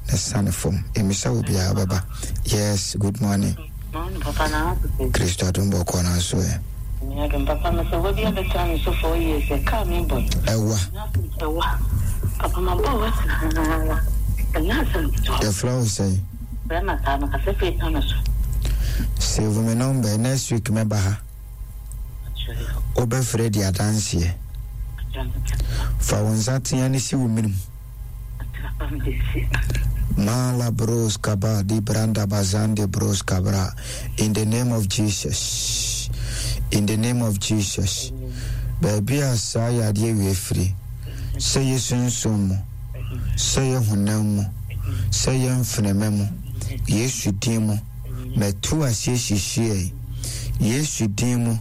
na sane fam. Emisa wo biara bɛba. Yes, good morning. Morning, Papa. Na Kristo adom bɔkɔ na so ɛ. Adom papa me sɛ wadi abɛtena me so four years ɛ kaa me bɔ. Ɛwa. Ɛwa. Papa ma bɔ wa saa. Ɛnyɛ asɛm ketewa. Yɛfrɛ wo sɛn? Bɛrima saa no kasa firi ta no so. Save me number, next week mɛba ha. Wobɛfrɛ di adanseɛ. Fa wo nsa tea ne si wo menem. Mala bros kaba di branda bazande bros kabra. In the name of Jesus. In the name of Jesus. Baabi a saa yadeɛ wie firi. Sɛ yɛ sunsum mu, sɛ yɛ honam mu, sɛ yɛ mfenema mu, Yesu din mu, mɛto aseɛ hyehyeɛ. Yesu din mu,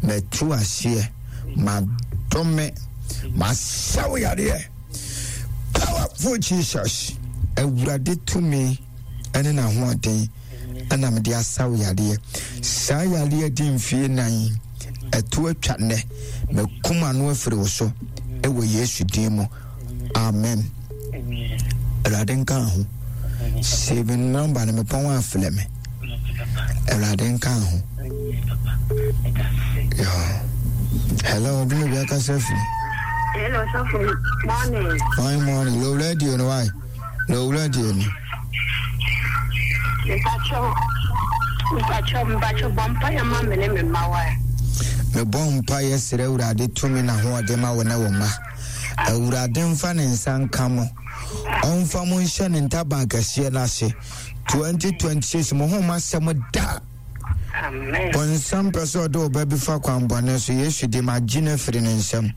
mɛto aseɛ, madome, masaw yadeɛ. Powerful Jesus. Awurade tumi ɛne n'ahoɔden ɛna mede asaw yadeɛ. Saa yadeɛ di mfie nan, ɛto atwa nnɛ, mɛkum ano afiri wo so ɛwɔ Yesu din mu. Amen. Awurade nka ho. Save number no mepɔn afrɛ me. Awurade nka ho. Yeah. Hello, do you be akasa firi? Hello, Safo. Morning. Morning, morning. Low radio no why? Low radio no. Mpacho. Mpacho, mpacho bompa ya ma me ne me ma wa. Me bompa yesere Awurade tumi na ho ode ma wo ne wo ma. Awurade mfa ne nsa nka mo. Ɔmfa mo nhyɛ ne ntaban kɛseɛ no ase. twenty twenty-six mo ho ma sɛm da. Amen. Bɔnsam pɛ sɛ ɔde wo ba bi fa kwanbɔne so, Yesu din mu, agye no afiri ne nsam.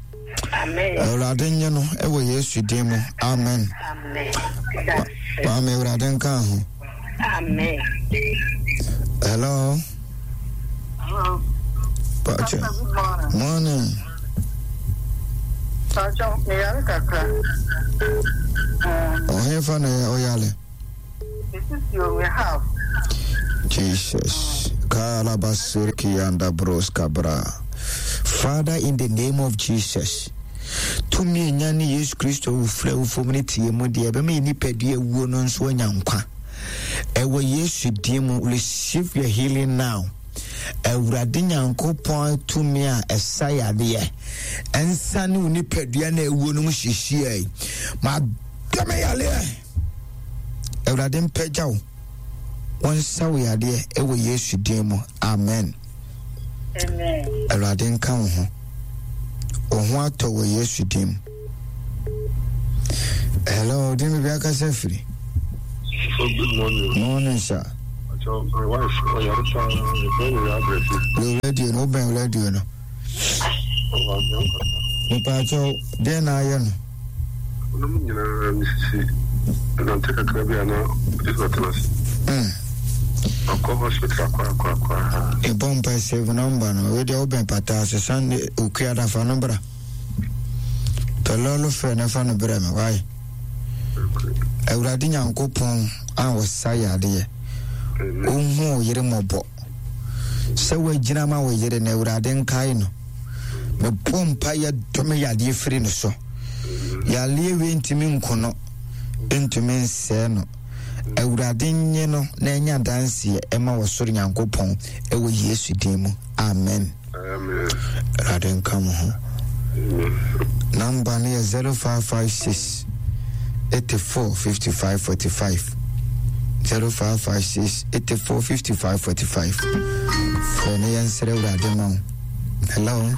Amen. Awurade nye no ɛwɔ Yesu din mu. Amen. Amen. Maame, Awurade nka ho. Amen. Hello. Hello. Pacho. Good morning. Morning. Pacho, me yare kakra. Ɔhefa na ɔyale? This is your house. Jesus. Kalabasiriki and bros kabra. Father, in the name of Jesus. Tumi enya ne Yesu Kristo wufrɛ wo fam ne tie mu deɛ ɛbɛma yɛ nipadua wuo no nso anya nkwa. Ɛwɔ Yesu din mu, receive your healing now. Awurade Nyankopɔn tumi a ɛsa yadeɛ ɛnsa ne wo nipadua na ɛwuo no mu hyehyɛ yi. Ma dɔme yadeɛ. Awurade mpagya wo. Wɔnsa wo yadeɛ ɛwɔ Yesu din mu. Amen. Amen. Awurade nka wo ho. Wo ho atɔ wɔ Yesu din mu. Hello, din bi akasa firi. So good morning. Morning, sir. My wife, ɔyare paa. Lo radio no, wobɛn radio no. Mepaakyɛw, deɛ na ayɛ no? Ɔnom nyinaa mesisi nante kakra bi a na ɔde sɛ ɔtena ase. Mm. Ɔkɔ hospital akɔ akɔ akɔ a. Ɛbɔ mpa save number no. Wei deɛ wobɛn pata ase Sunday okuada fa no bra. Tɔlɔlo frɛ no fa no brɛ me wae. Awurade Nyankopɔn a ɔsa yadeɛ. Ɔnhu wo yere mmɔbɔ. Sɛ woagyina ma wo yere no, Awurade nkae no. Mebɔ mpa yɛ dɔme yadeɛ firi no so. Yadeɛ wei ntumi nko no, ntumi nsɛe no. Awurade nye no na ɛnya adanseɛ ɛma wɔ soro Nyankopɔn ɛwɔ Yesu din mu. Amen. Amen. Awurade nka mo ho. Number no yɛ zero five five six eighty four fifty five forty five zero five five six eighty four fifty five forty five. Frɛ no yɛnsrɛ Awurade ma wo. Hello.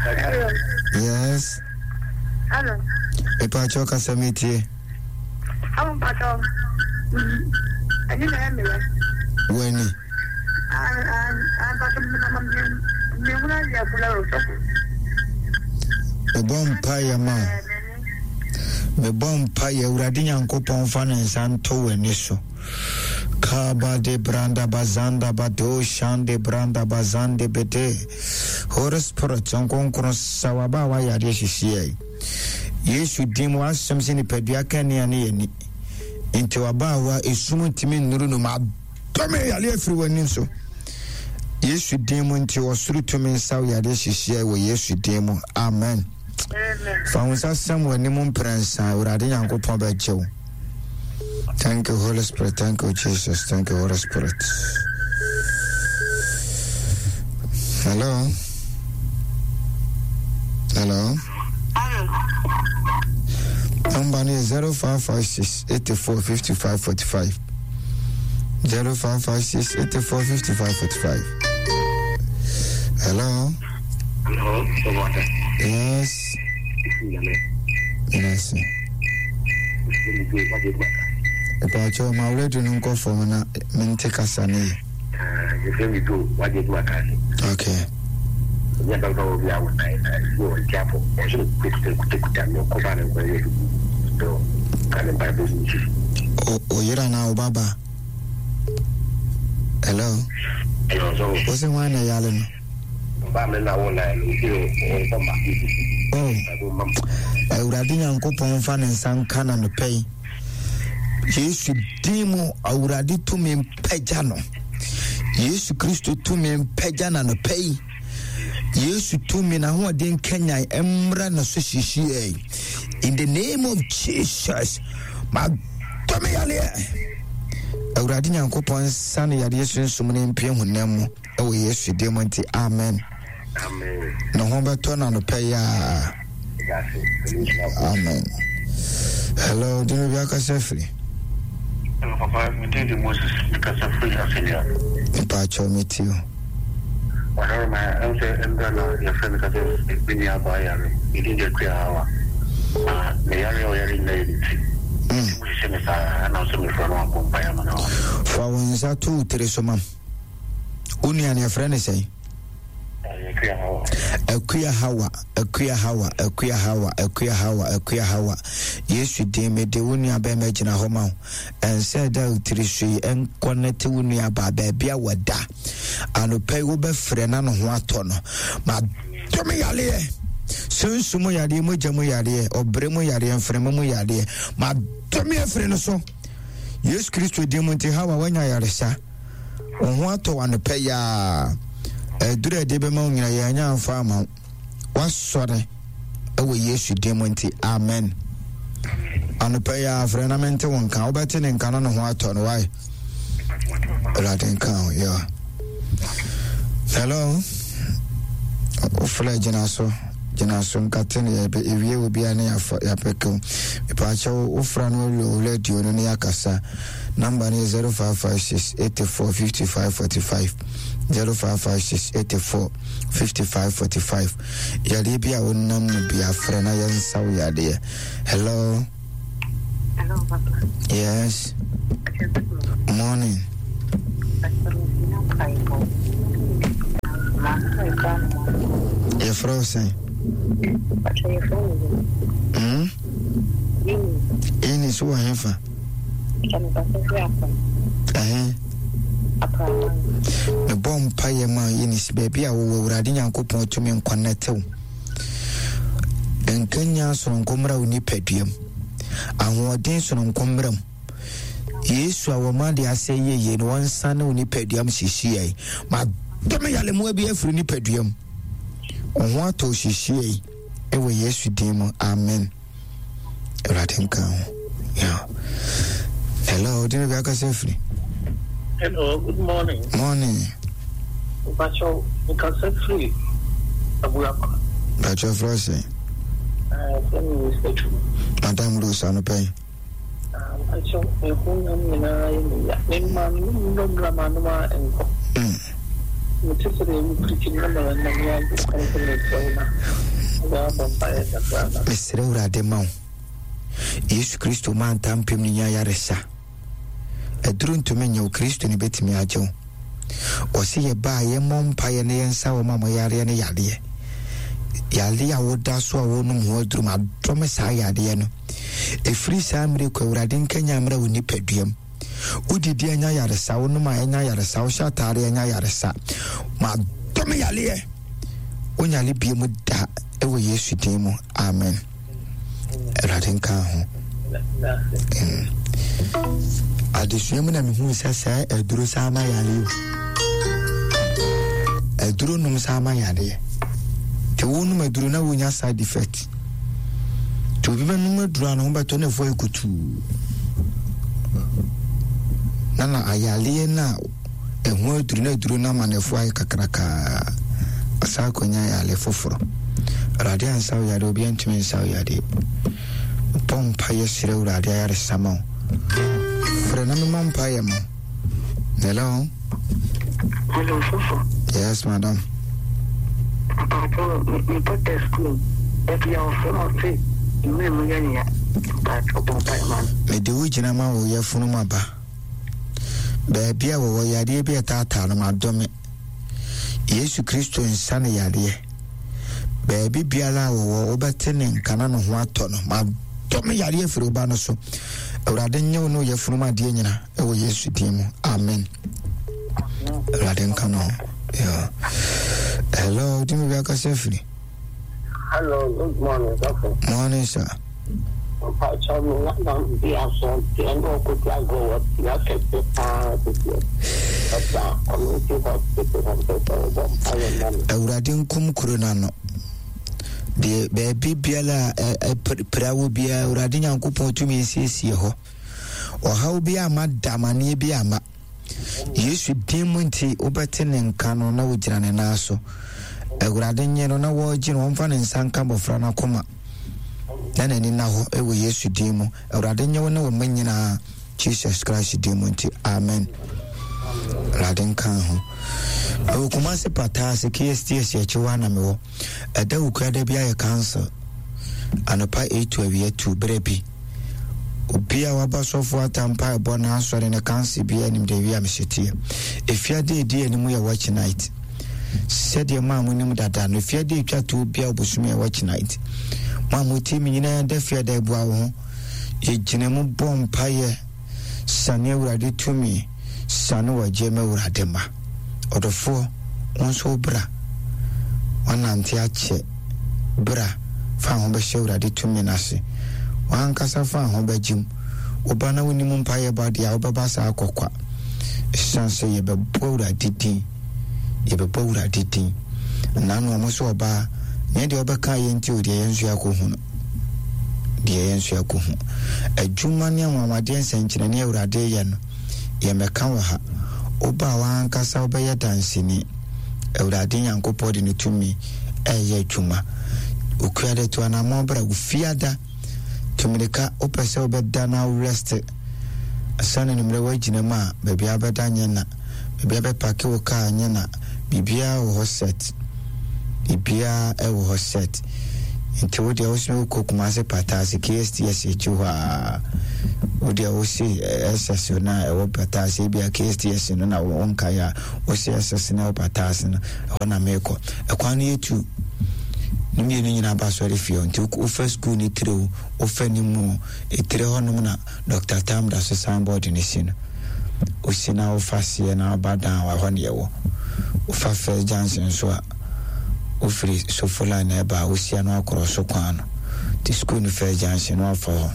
Hello. Yes. Hello. Mepakyɛw kasa metie. Awo mpakyɛw. Ɛni na ɛyɛ meyɛ. W'ani. Mebɔ mpaeɛ ma wo. Mebɔ mpaeɛ Awurade Nyankopɔn fa ne nsa nto w'ani so. Kaba de branda bazanda bado shande branda bazande bede. Holy Spirit nkonkron sa waba a wayɛ adeɛ hyehyeɛ yi. Yesu din mu asɛm sɛ nipadua ka nea ne yɛni. Nti waba a wa esum ntumi nnuru no ma dɔme yare afiri w'anim so. Yesu din mu nti ɔsoro tumi nsa wo yadeɛ hyehyeɛ wɔ Yesu din mu. Amen. Fa wo nsa sɛm w'anim mprɛnsa, Awurade Nyankopɔn bɛgye wo. Thank you, Holy Spirit. Thank you, Jesus. Thank you, Holy Spirit. Hello. Hello. Number is zero five five six eighty four fifty five forty five. Zero five five six eighty four fifty five forty five. Hello. Hello. Yes. Yes. Ìpàkyɛ ma radio no nkɔ fam na mente kasa ne yɛ. Okay. O yere anaa wo baba? Hello. Wo se hwan na yale no? Oh. Awurade Nyankopɔn mfa ne nsa nka na nopɛ yi. Yesu din mu Awurade tumi mpagya no. Yesu Kristo tumi mpagya na nopɛ yi. Yesu tumi na ahoɔden kanyan mmra na so hyehyeɛ. In the name of Jesus. Ma dɔme yareɛ. Awurade Nyankopɔn nsa ne yareɛ sunsum ne mpue honam mu ɛwɔ Yesu din mu nti amen. Amen. Ne ho bɛtɔ na nopɛ yi a. Amen. Hello, dino bi akasa firi. Hello, Papa. Me din de Moses. Mekasa firi Asenia. Mpakyɛw metie o. Ɔhɛrɛ ma ɛm sɛ mbra na yɛfrɛ me kasa me nua abaa yare. Me din de Akua Hawa. Na me yare a ɔyare nyinaa yɛ ne ti. Nti mo hyehyɛ me saa ɛna nso mefrɛ no abɔ mpaeɛ ama no. Fa wo nsa to wo tiri so ma. Wo nua no yɛfrɛ no sɛn? Akua Hawa. Akua Hawa, Akua Hawa, Akua Hawa, Akua Hawa, Akua Hawa. Yesu din mede wo nua bɛrima gyina hɔ ma wo. Ɛnsɛ da wo tiri so yi ɛnkɔnɛte wo nua baa baabi a wɔda. Anɔpa yi wobɛfrɛ na ne ho atɔ no. Ma dɔme yareɛ. Sunsum mu yareɛ, mogya mu yareɛ, ɔbrɛ mu yareɛ, mframa mu yareɛ. Ma dɔme afiri no so. Yesu Kristo din mu nti Hawa wanya yaresa. Wo ho atɔ wo anɔpa yi a. Ɛduru a ɛde bɛma wo nyina yɛanya amfa ama wo. Wasɔre ɛwɔ Yesu din mu nti amen. Anɔpa yi a frɛ na mente wo nka. Wobɛte ne nka na ne ho atɔ no wae. Awurade nka ho yɛ. Hello. Wofrɛ gyina so. Gyina so nkate no yɛbɛ ewie wɔ bia ne yɛafa yɛapɛkɛw. Mepaakyɛw wofra no wɔ radio no ne yɛakasa. Number no yɛ zero five five six eighty four fifty five forty five zero five five six eighty four fifty five forty five. Yadeɛ bi a wonam mu bi afrɛ na yɛnsa wo yadeɛ. Hello. Hello, Papa. Yes. Morning. Yɛfrɛ wo sɛn? Hmm? Ɛni so wɔ hefa? Ɛhe? Mebɔ mpayɛ ma Eunice baabi a wowɔ Awurade Nyankopɔn tumi nkɔnɛtew. Nkanya sononko mmra wo nipaduam. Ahoɔden sononko mmra mu. Yesu a wɔma de asɛ yie no wɔnsane wo nipaduam hyehyeɛ. Ma dɔm yalemoa bi afiri nipaduam. Wo ho atɔ hyehyeɛ ɛwɔ Yesu din mu. Amen. Awurade nka ho. Yeah. Hello, dina bi akasa firi. Hello, good morning. Morning. Mpacho, nkasa firi Abuakwa. Mpacho frɛ sɛ. Ah, sɛ mi Rose. Madam Rose anɔpɛ yi. Mpacho, ehu nam nyinaa yɛ me ya. Me ma no nnɔmra ma no ma nkɔ. Me te sɛ deɛ wopirikyi no ma nam yɛ agye kwan sɛ mesrɛ wo na ɔbɛabɔ mpaeɛ kakra na. Mesrɛ Awurade ma wo. Yesu Kristo ma ntampem ne nya yaresa. Aduru ntumi nyɛ wo, Kristo ne bɛtumi agye wo. Ɔse yɛbaa yɛmmɔ mpaeɛ ne yɛnsa wɔ ma mo yareɛ ne yadeɛ. Yadeɛ a woda so a wonom ho aduru ma adɔme saa yadeɛ no. Ɛfiri saa mmerɛ kɔ Awurade nkanya mmerɛ wo nipaduam. Wodidi anya yaresa, wonom a anya yaresa, wohyɛ ataare anya yaresa. Ma adɔme yadeɛ. Wonyale bie mu da ɛwɔ Yesu din mu. Amen. Awurade nka ho. Mm. Adesua mu na mehu sɛ sɛ aduro saa ma yare o. Aduro nom saa ma yareɛ. Nti wonom aduro na wonya side effect. Nti obi bɛnom aduro a ne ho bɛtɔ ne fo ayɛ kutuu. Na na ayareɛ no a ɛho aduro na aduro no ama ne fo ayɛ kakrakaa. Ɔsan akɔnya yare foforɔ. Awurade ansa wo yareɛ, obiara ntumi nsa wo yareɛ. Bɔ mpaeɛ srɛ Awurade ayaresa ma wo. Frɛ na memmɔ mpaeɛ ma wo. Hello? Hello, Sofo. Yes, madam. Mpacho, me daughter school. Ebi a ɔfrɛ ma ɔse, mmerɛ mu yɛ nea. Mpacho, bɔ mpaeɛ ma no. Mede wo gyina ma wo yɛfunu mu aba. Baabi a wɔwɔ yadeɛ bi a ɛtaataa no madɔme. Yesu Kristo nsa ne yadeɛ. Baabi biara a wɔwɔ wobɛte ne nka na ne ho atɔ no. Madɔme yadeɛ firi wo ba no so. Awurade nyɛ wo ne wo yɛfunu mu adeɛ nyina ɛwɔ Yesu din mu. Amen. Awurade nka no. Yeah. Hello, dimi bi akasa firi. Hello, good morning, Sofo. Morning, sir. Mpacho, me nana bi aso deɛ na ɔkɔdi agorɔ wɔ tia kɛse paa tete. Ɛda community hospital hɔ mpɛ sɛ wobɔ mpaeɛ ma me. Awurade nkum kuro no ano. Deɛ baabi biara a pira wo biara, Awurade Nyankopɔn tumi nsiesie hɔ. Ɔhaw bi ama da, amanneɛ bi ama. Yesu din mu nti wobɛte ne nka no na wogyina ne nan so. Awurade nye no na wɔregye no, wɔmfa ne nsa nka abɔfra no akoma. Na n'ani na hɔ ɛwɔ Yesu din mu. Awurade nye wo ne wo mma nyinaa Jesus Christ din mu nti. Amen. Awurade nka ho. Ɛwɔ Kumasi Pataa ase K S T S akyi hɔ na mewɔ. Ɛda wukura da bi ayɛ council. Anɔpa eight to awia two berɛ bi. Obi a waba sɔfo atampa ɛbɔ na asɔre ne council bi anim de awia mehyɛteɛ. Efiade edi anim yɛ watch night. Sɛdeɛ maa mo nim dada no, efiade etwa to obi a obosom yɛ watch night. Mo a mo tie mi nyinaa da fiade abua wo ho. Yɛgyina mu bɔ mpaeɛ sane Awurade tumi sane wɔgye ma Awurade ma. Ɔdɔfoɔ, wo nso bra. Wanante akyɛ bra fa ho bɛhyɛ Awurade tumi n'ase. Wankasa fa ho bɛgyem. Woba na wonim mpaeɛ ba deɛ a wobɛba saa akɔkwa. Ɛsiane sɛ yɛbɛbɔ Awurade din. Yɛbɛbɔ Awurade din. Na no ɔmo so ɔbaa, nyɛ deɛ ɔbɛka yɛn nti o, deɛ yɛn nso yɛakɔhu no. Deɛ yɛn nso yɛakɔhu. Adwuma ne anwanwadeɛ nsɛnkyerɛnne Awurade yɛ no, yɛmmɛka wɔ ha. Woba a wankasa wobɛyɛ danseni. Awurade Nyankopɔn de ne tumi ɛyɛ adwuma. Okua de to anammɔn bra, wofiada. Tumirika, wopɛ sɛ wobɛda na worest. Sane no mmerɛ woagyina mu a, baabi a wobɛda nyɛ na. Baabi a bɛpake wo kaa nyɛ na. Biribiara wɔ hɔ set. Biribiara ɛwɔ hɔ set. Nti wo deɛ wo sɛ wokɔ Kumasi Pataa ase K S T S akyi hɔ a, wo deɛ wo se S S no a ɛwɔ Pataa ase, ebi a K S T S no na wo nkae a, wo se S S no ɛwɔ Pataa ase no, ɛhɔ na meekɔ. Ɛkwan no yɛ tu. Ne mmienu nyinaa ba asɔre fie hɔ. Nti wofa school ne tire o, wofa ne mu o, etire hɔnom na Doctor Tam da so signboard ne si no. Osi na wofa seɛ na woba dan wɔ hɔ ne yɛwɔ. Wofa First Junction so a, wofiri Sofola na ɛba a, wosia no akorɔ so kwan no. Nti school no First Junction no wafa hɔ.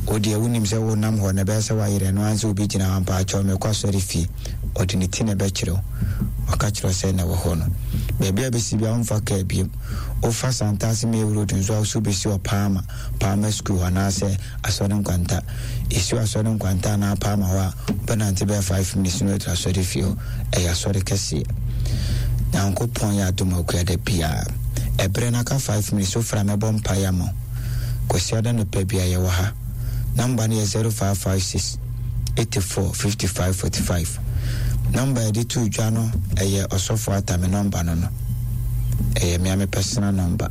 Wo deɛ wonim sɛ wonam hɔ na ɛbɛyɛ sɛ woayerɛ no ansa obi gyina hɔ ampa akyɛw mekɔ asɔre fie. Ɔde ne ti na ɛbɛkyerɛ wo. Waka kyerɛ sɛ na ɛwɔ hɔ no. Baabi a bɛsi bia womfa kaa biom. Wofa Santase May Road nso a wo so bɛsi wɔ Paama, Paama School hɔ anaasɛ Asɔre Nkwanta. Ɛsi wɔ Asɔre Nkwanta anaa Paama hɔ a, wobɛnante bɛyɛ five minutes na woaduru asɔre fie hɔ. Ɛyɛ asɔre kɛseɛ. Nyankopɔn yɛ adom akuada biara. Ɛberɛ no aka five minutes, wofrɛ a mɛbɔ mpaeɛ ama wo. Kwasiada nɔpɛ bia yɛwɔ ha. Number no yɛ zero five five six eighty-four fifty-five forty-five. Number yɛde to dwa no ɛyɛ Ɔsɔfo Atame number no no. Ɛyɛ me a me personal number.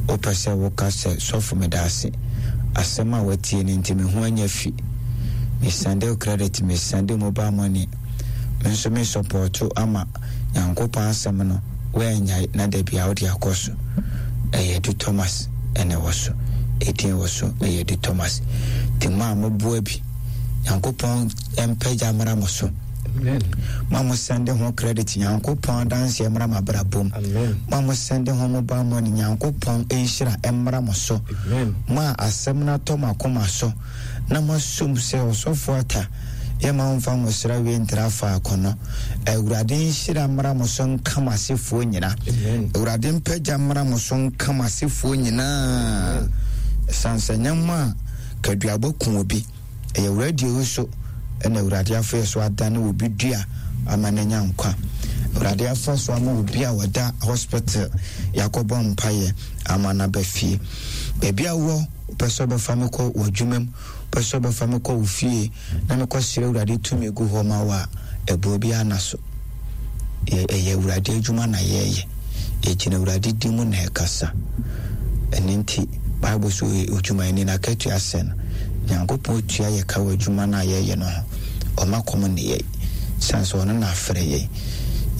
Wopɛ sɛ woka sɛ sɔfo meda ase. Asɛm a watie no nti me ho anya fi. Me send wo credit, me send wo mobile money. Me nso me support ama Nyankopɔn asɛm no woanyae na da bia wode akɔ so. Ɛyɛ Du Thomas ɛna ɛwɔ so. Edin ɛwɔ so ɛyɛ Du Thomas. Nti mo a moboa bi, Nyankopɔn mpagya mmra mo so. Mo a mo send ho credit, Nyankopɔn adanseɛ mmra mo abrabom. Mo a mo send ho mobile money, Nyankopɔn nhyira mmra mo so. Mo a asɛm no atɔ mo akoma so na mo asom sɛ Ɔsɔfo Ata yɛma wo mfa nwosra wie ntra faako no. Awurade nhyira mmra mo so nka mo asefoɔ nyina. Awurade mpagya mmra mo so nka mo asefoɔ nyinaa. Ɛsiane sɛ nyɛ mo a kaduabɔ ku obi, ɛyɛ radio yi so ɛna Awurade afa yɛ so adane obi dua ama no anya nkwa. Awurade afa so ama obi a wɔda hospital yɛakɔbɔ mpaeɛ ama no aba fie. Baabi a wɔ, wopɛ sɛ wobɛfa me kɔ w'adwuma mu, wopɛ sɛ wobɛfa me kɔ wo fie na mekɔsrɛ Awurade tumi gu hɔ ma wo a, ɛboɔ biara na so. Ɛyɛ Awurade adwuma na yɛyɛ. Yɛgyina Awurade din mu na ɛkasa. Ɛno nti, Bible so odwumayɛni na akatua sɛ no, Nyankopɔn tua yɛ ka wɔ adwuma no a yɛyɛ no ho. Ɔma kɔm ne yɛn. Sane sɛ ɔno na afrɛ yɛn.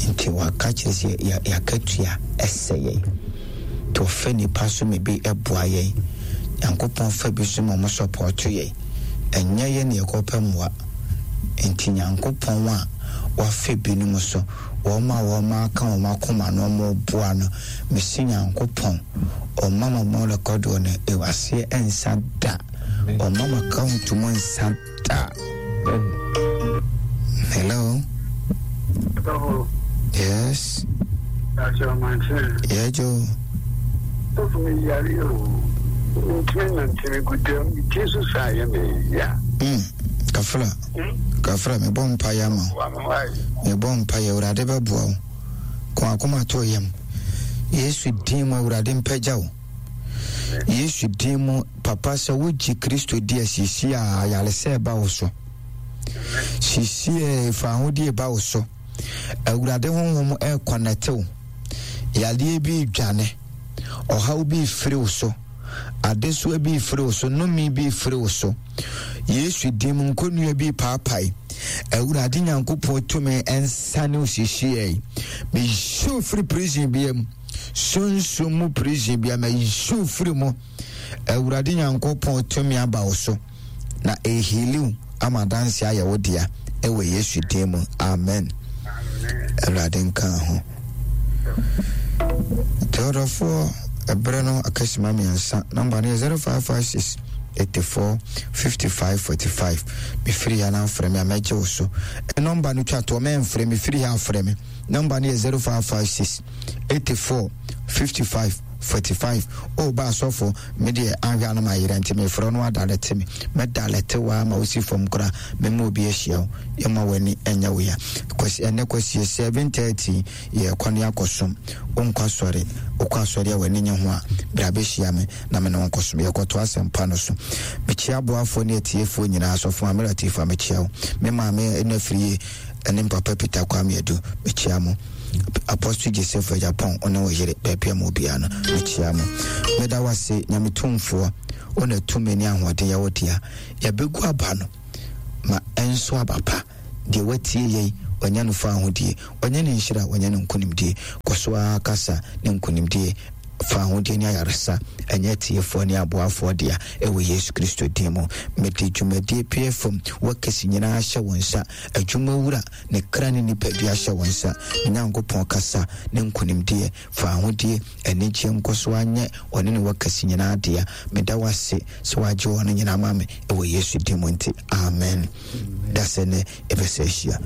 Nti waka kyerɛ sɛ yɛakatua ɛsɛ yɛn. Nti ɔfɛ nipa so ma bi ɛboa yɛn. Nyankopɔn fa bi so ma ɔmo sɔpɔɔto yɛn. Ɛnyɛ yɛn na yɛkɔpɛ mmoa. Nti Nyankopɔn a wafɛ binom so, wɔn a wɔn aka wɔn akoma na wɔn boa no, mesi Nyankopɔn ɔma ma mo rekɔdoɔ no ɛwɔ aseɛ ɛnsa da. Ɔma ma account mu nsa da. Hello. Yes. Yeah, Joe. Mm. Kafra. Kafra, me bɔ mpaeɛ ama wo. Me bɔ mpaeɛ, Awurade bɛboa wo. Ko akoma to yam. Yesu din mu Awurade mpagya wo. Yesu din mu papa sɛ wogye Kristo di asiesie a ayaresɛ ɛba wo so. Siesie fa ahodie ba wo so. Awurade honhom ɛkɔnɛte wo. Yadeɛ bi dwane. Ɔhaw bi firi wo so. Adesoa bi firi wo so. Nnome bi firi wo so. Yesu din mu nkonnua bi paapae. Awurade Nyankopɔn tumi ɛnsane wo siesie. Meyi firi prison bia mu. Sunsun mu prison bia meyi firi mu. Awurade Nyankopɔn tumi aba wo so. Na ehiliw ama danse ayɛ wo dea ɛwɔ Yesu din mu. Amen. Awurade nka ho. Teodɔfoɔ ɛberɛ no akasima mmiɛnsa. Namba no yɛ zero five five six eighty-four fifty-five forty-five. Mefiri ha na afrɛ me a mɛgye wo so. Nɔmba no twa toɔ, mɛmfrɛ me, firi ha afrɛ me. Nɔmba no yɛ zero five five six eighty-four fifty-five forty-five. O ba asɔfo, me deɛ ahwɛ ano ma yerɛ nti mefrɛ no adalɛte me. Mɛdalɛte wo ama wosi fam koraa, mɛma obi ahyia wo. Yɛma w'ani ɛnyɛ wo ya. Kwasi, ɛnɛ kwasi seven thirty yɛkɔ ne akɔsom. Wonkɔ asɔre, wokɔ asɔre a w'ani nye ho a, bra bɛhyia me na me ne wo nkɔsom. Yɛkɔto asɛmpa no so. Mekyia aboafoɔ ne atiefoɔ nyinaa. Asɔfo Maame Latifa, mekyia wo. Me maame ɛna firi yie, ɛne Papa Peter Kwame Adu, mekyia mo. Apostle Joseph Japon, ɔne wo yere, baabi a mo biara no, mekyia mo. Meda wo ase, Nyame tumfoɔ, wo na tumi ne ahoɔden yɛ wo dea. Yɛbɛgu aba no, ma ɛnso aba pa. Deɛ watie yɛn, ɔnyɛ no fa ahodie, ɔnyɛ ne nhyira, ɔnyɛ no nkonimdie. Kɔ so ara kasa ne nkonimdie Fa ahodeɛ ne ayaresa ɛnyɛ tiefoɔ ne aboafoɔ dea ɛwɔ Yesu Kristo din mu. Mede dwumadie pie fam wɔkɛse nyinaa hyɛ wo nsa. Adwuma wura ne kra ne nipadua hyɛ wo nsa. Nyankopɔn, kasa ne nkonimdie, fa ahodie, anigyeɛ nkɔ so anyɛ ɔne ne wɔkɛse nyinaa dea. Meda wo ase sɛ woagye wɔ no nyinaa ma me ɛwɔ Yesu din mu nti, amen. Da sɛ nɛ ɛbɛsɛ ahyia.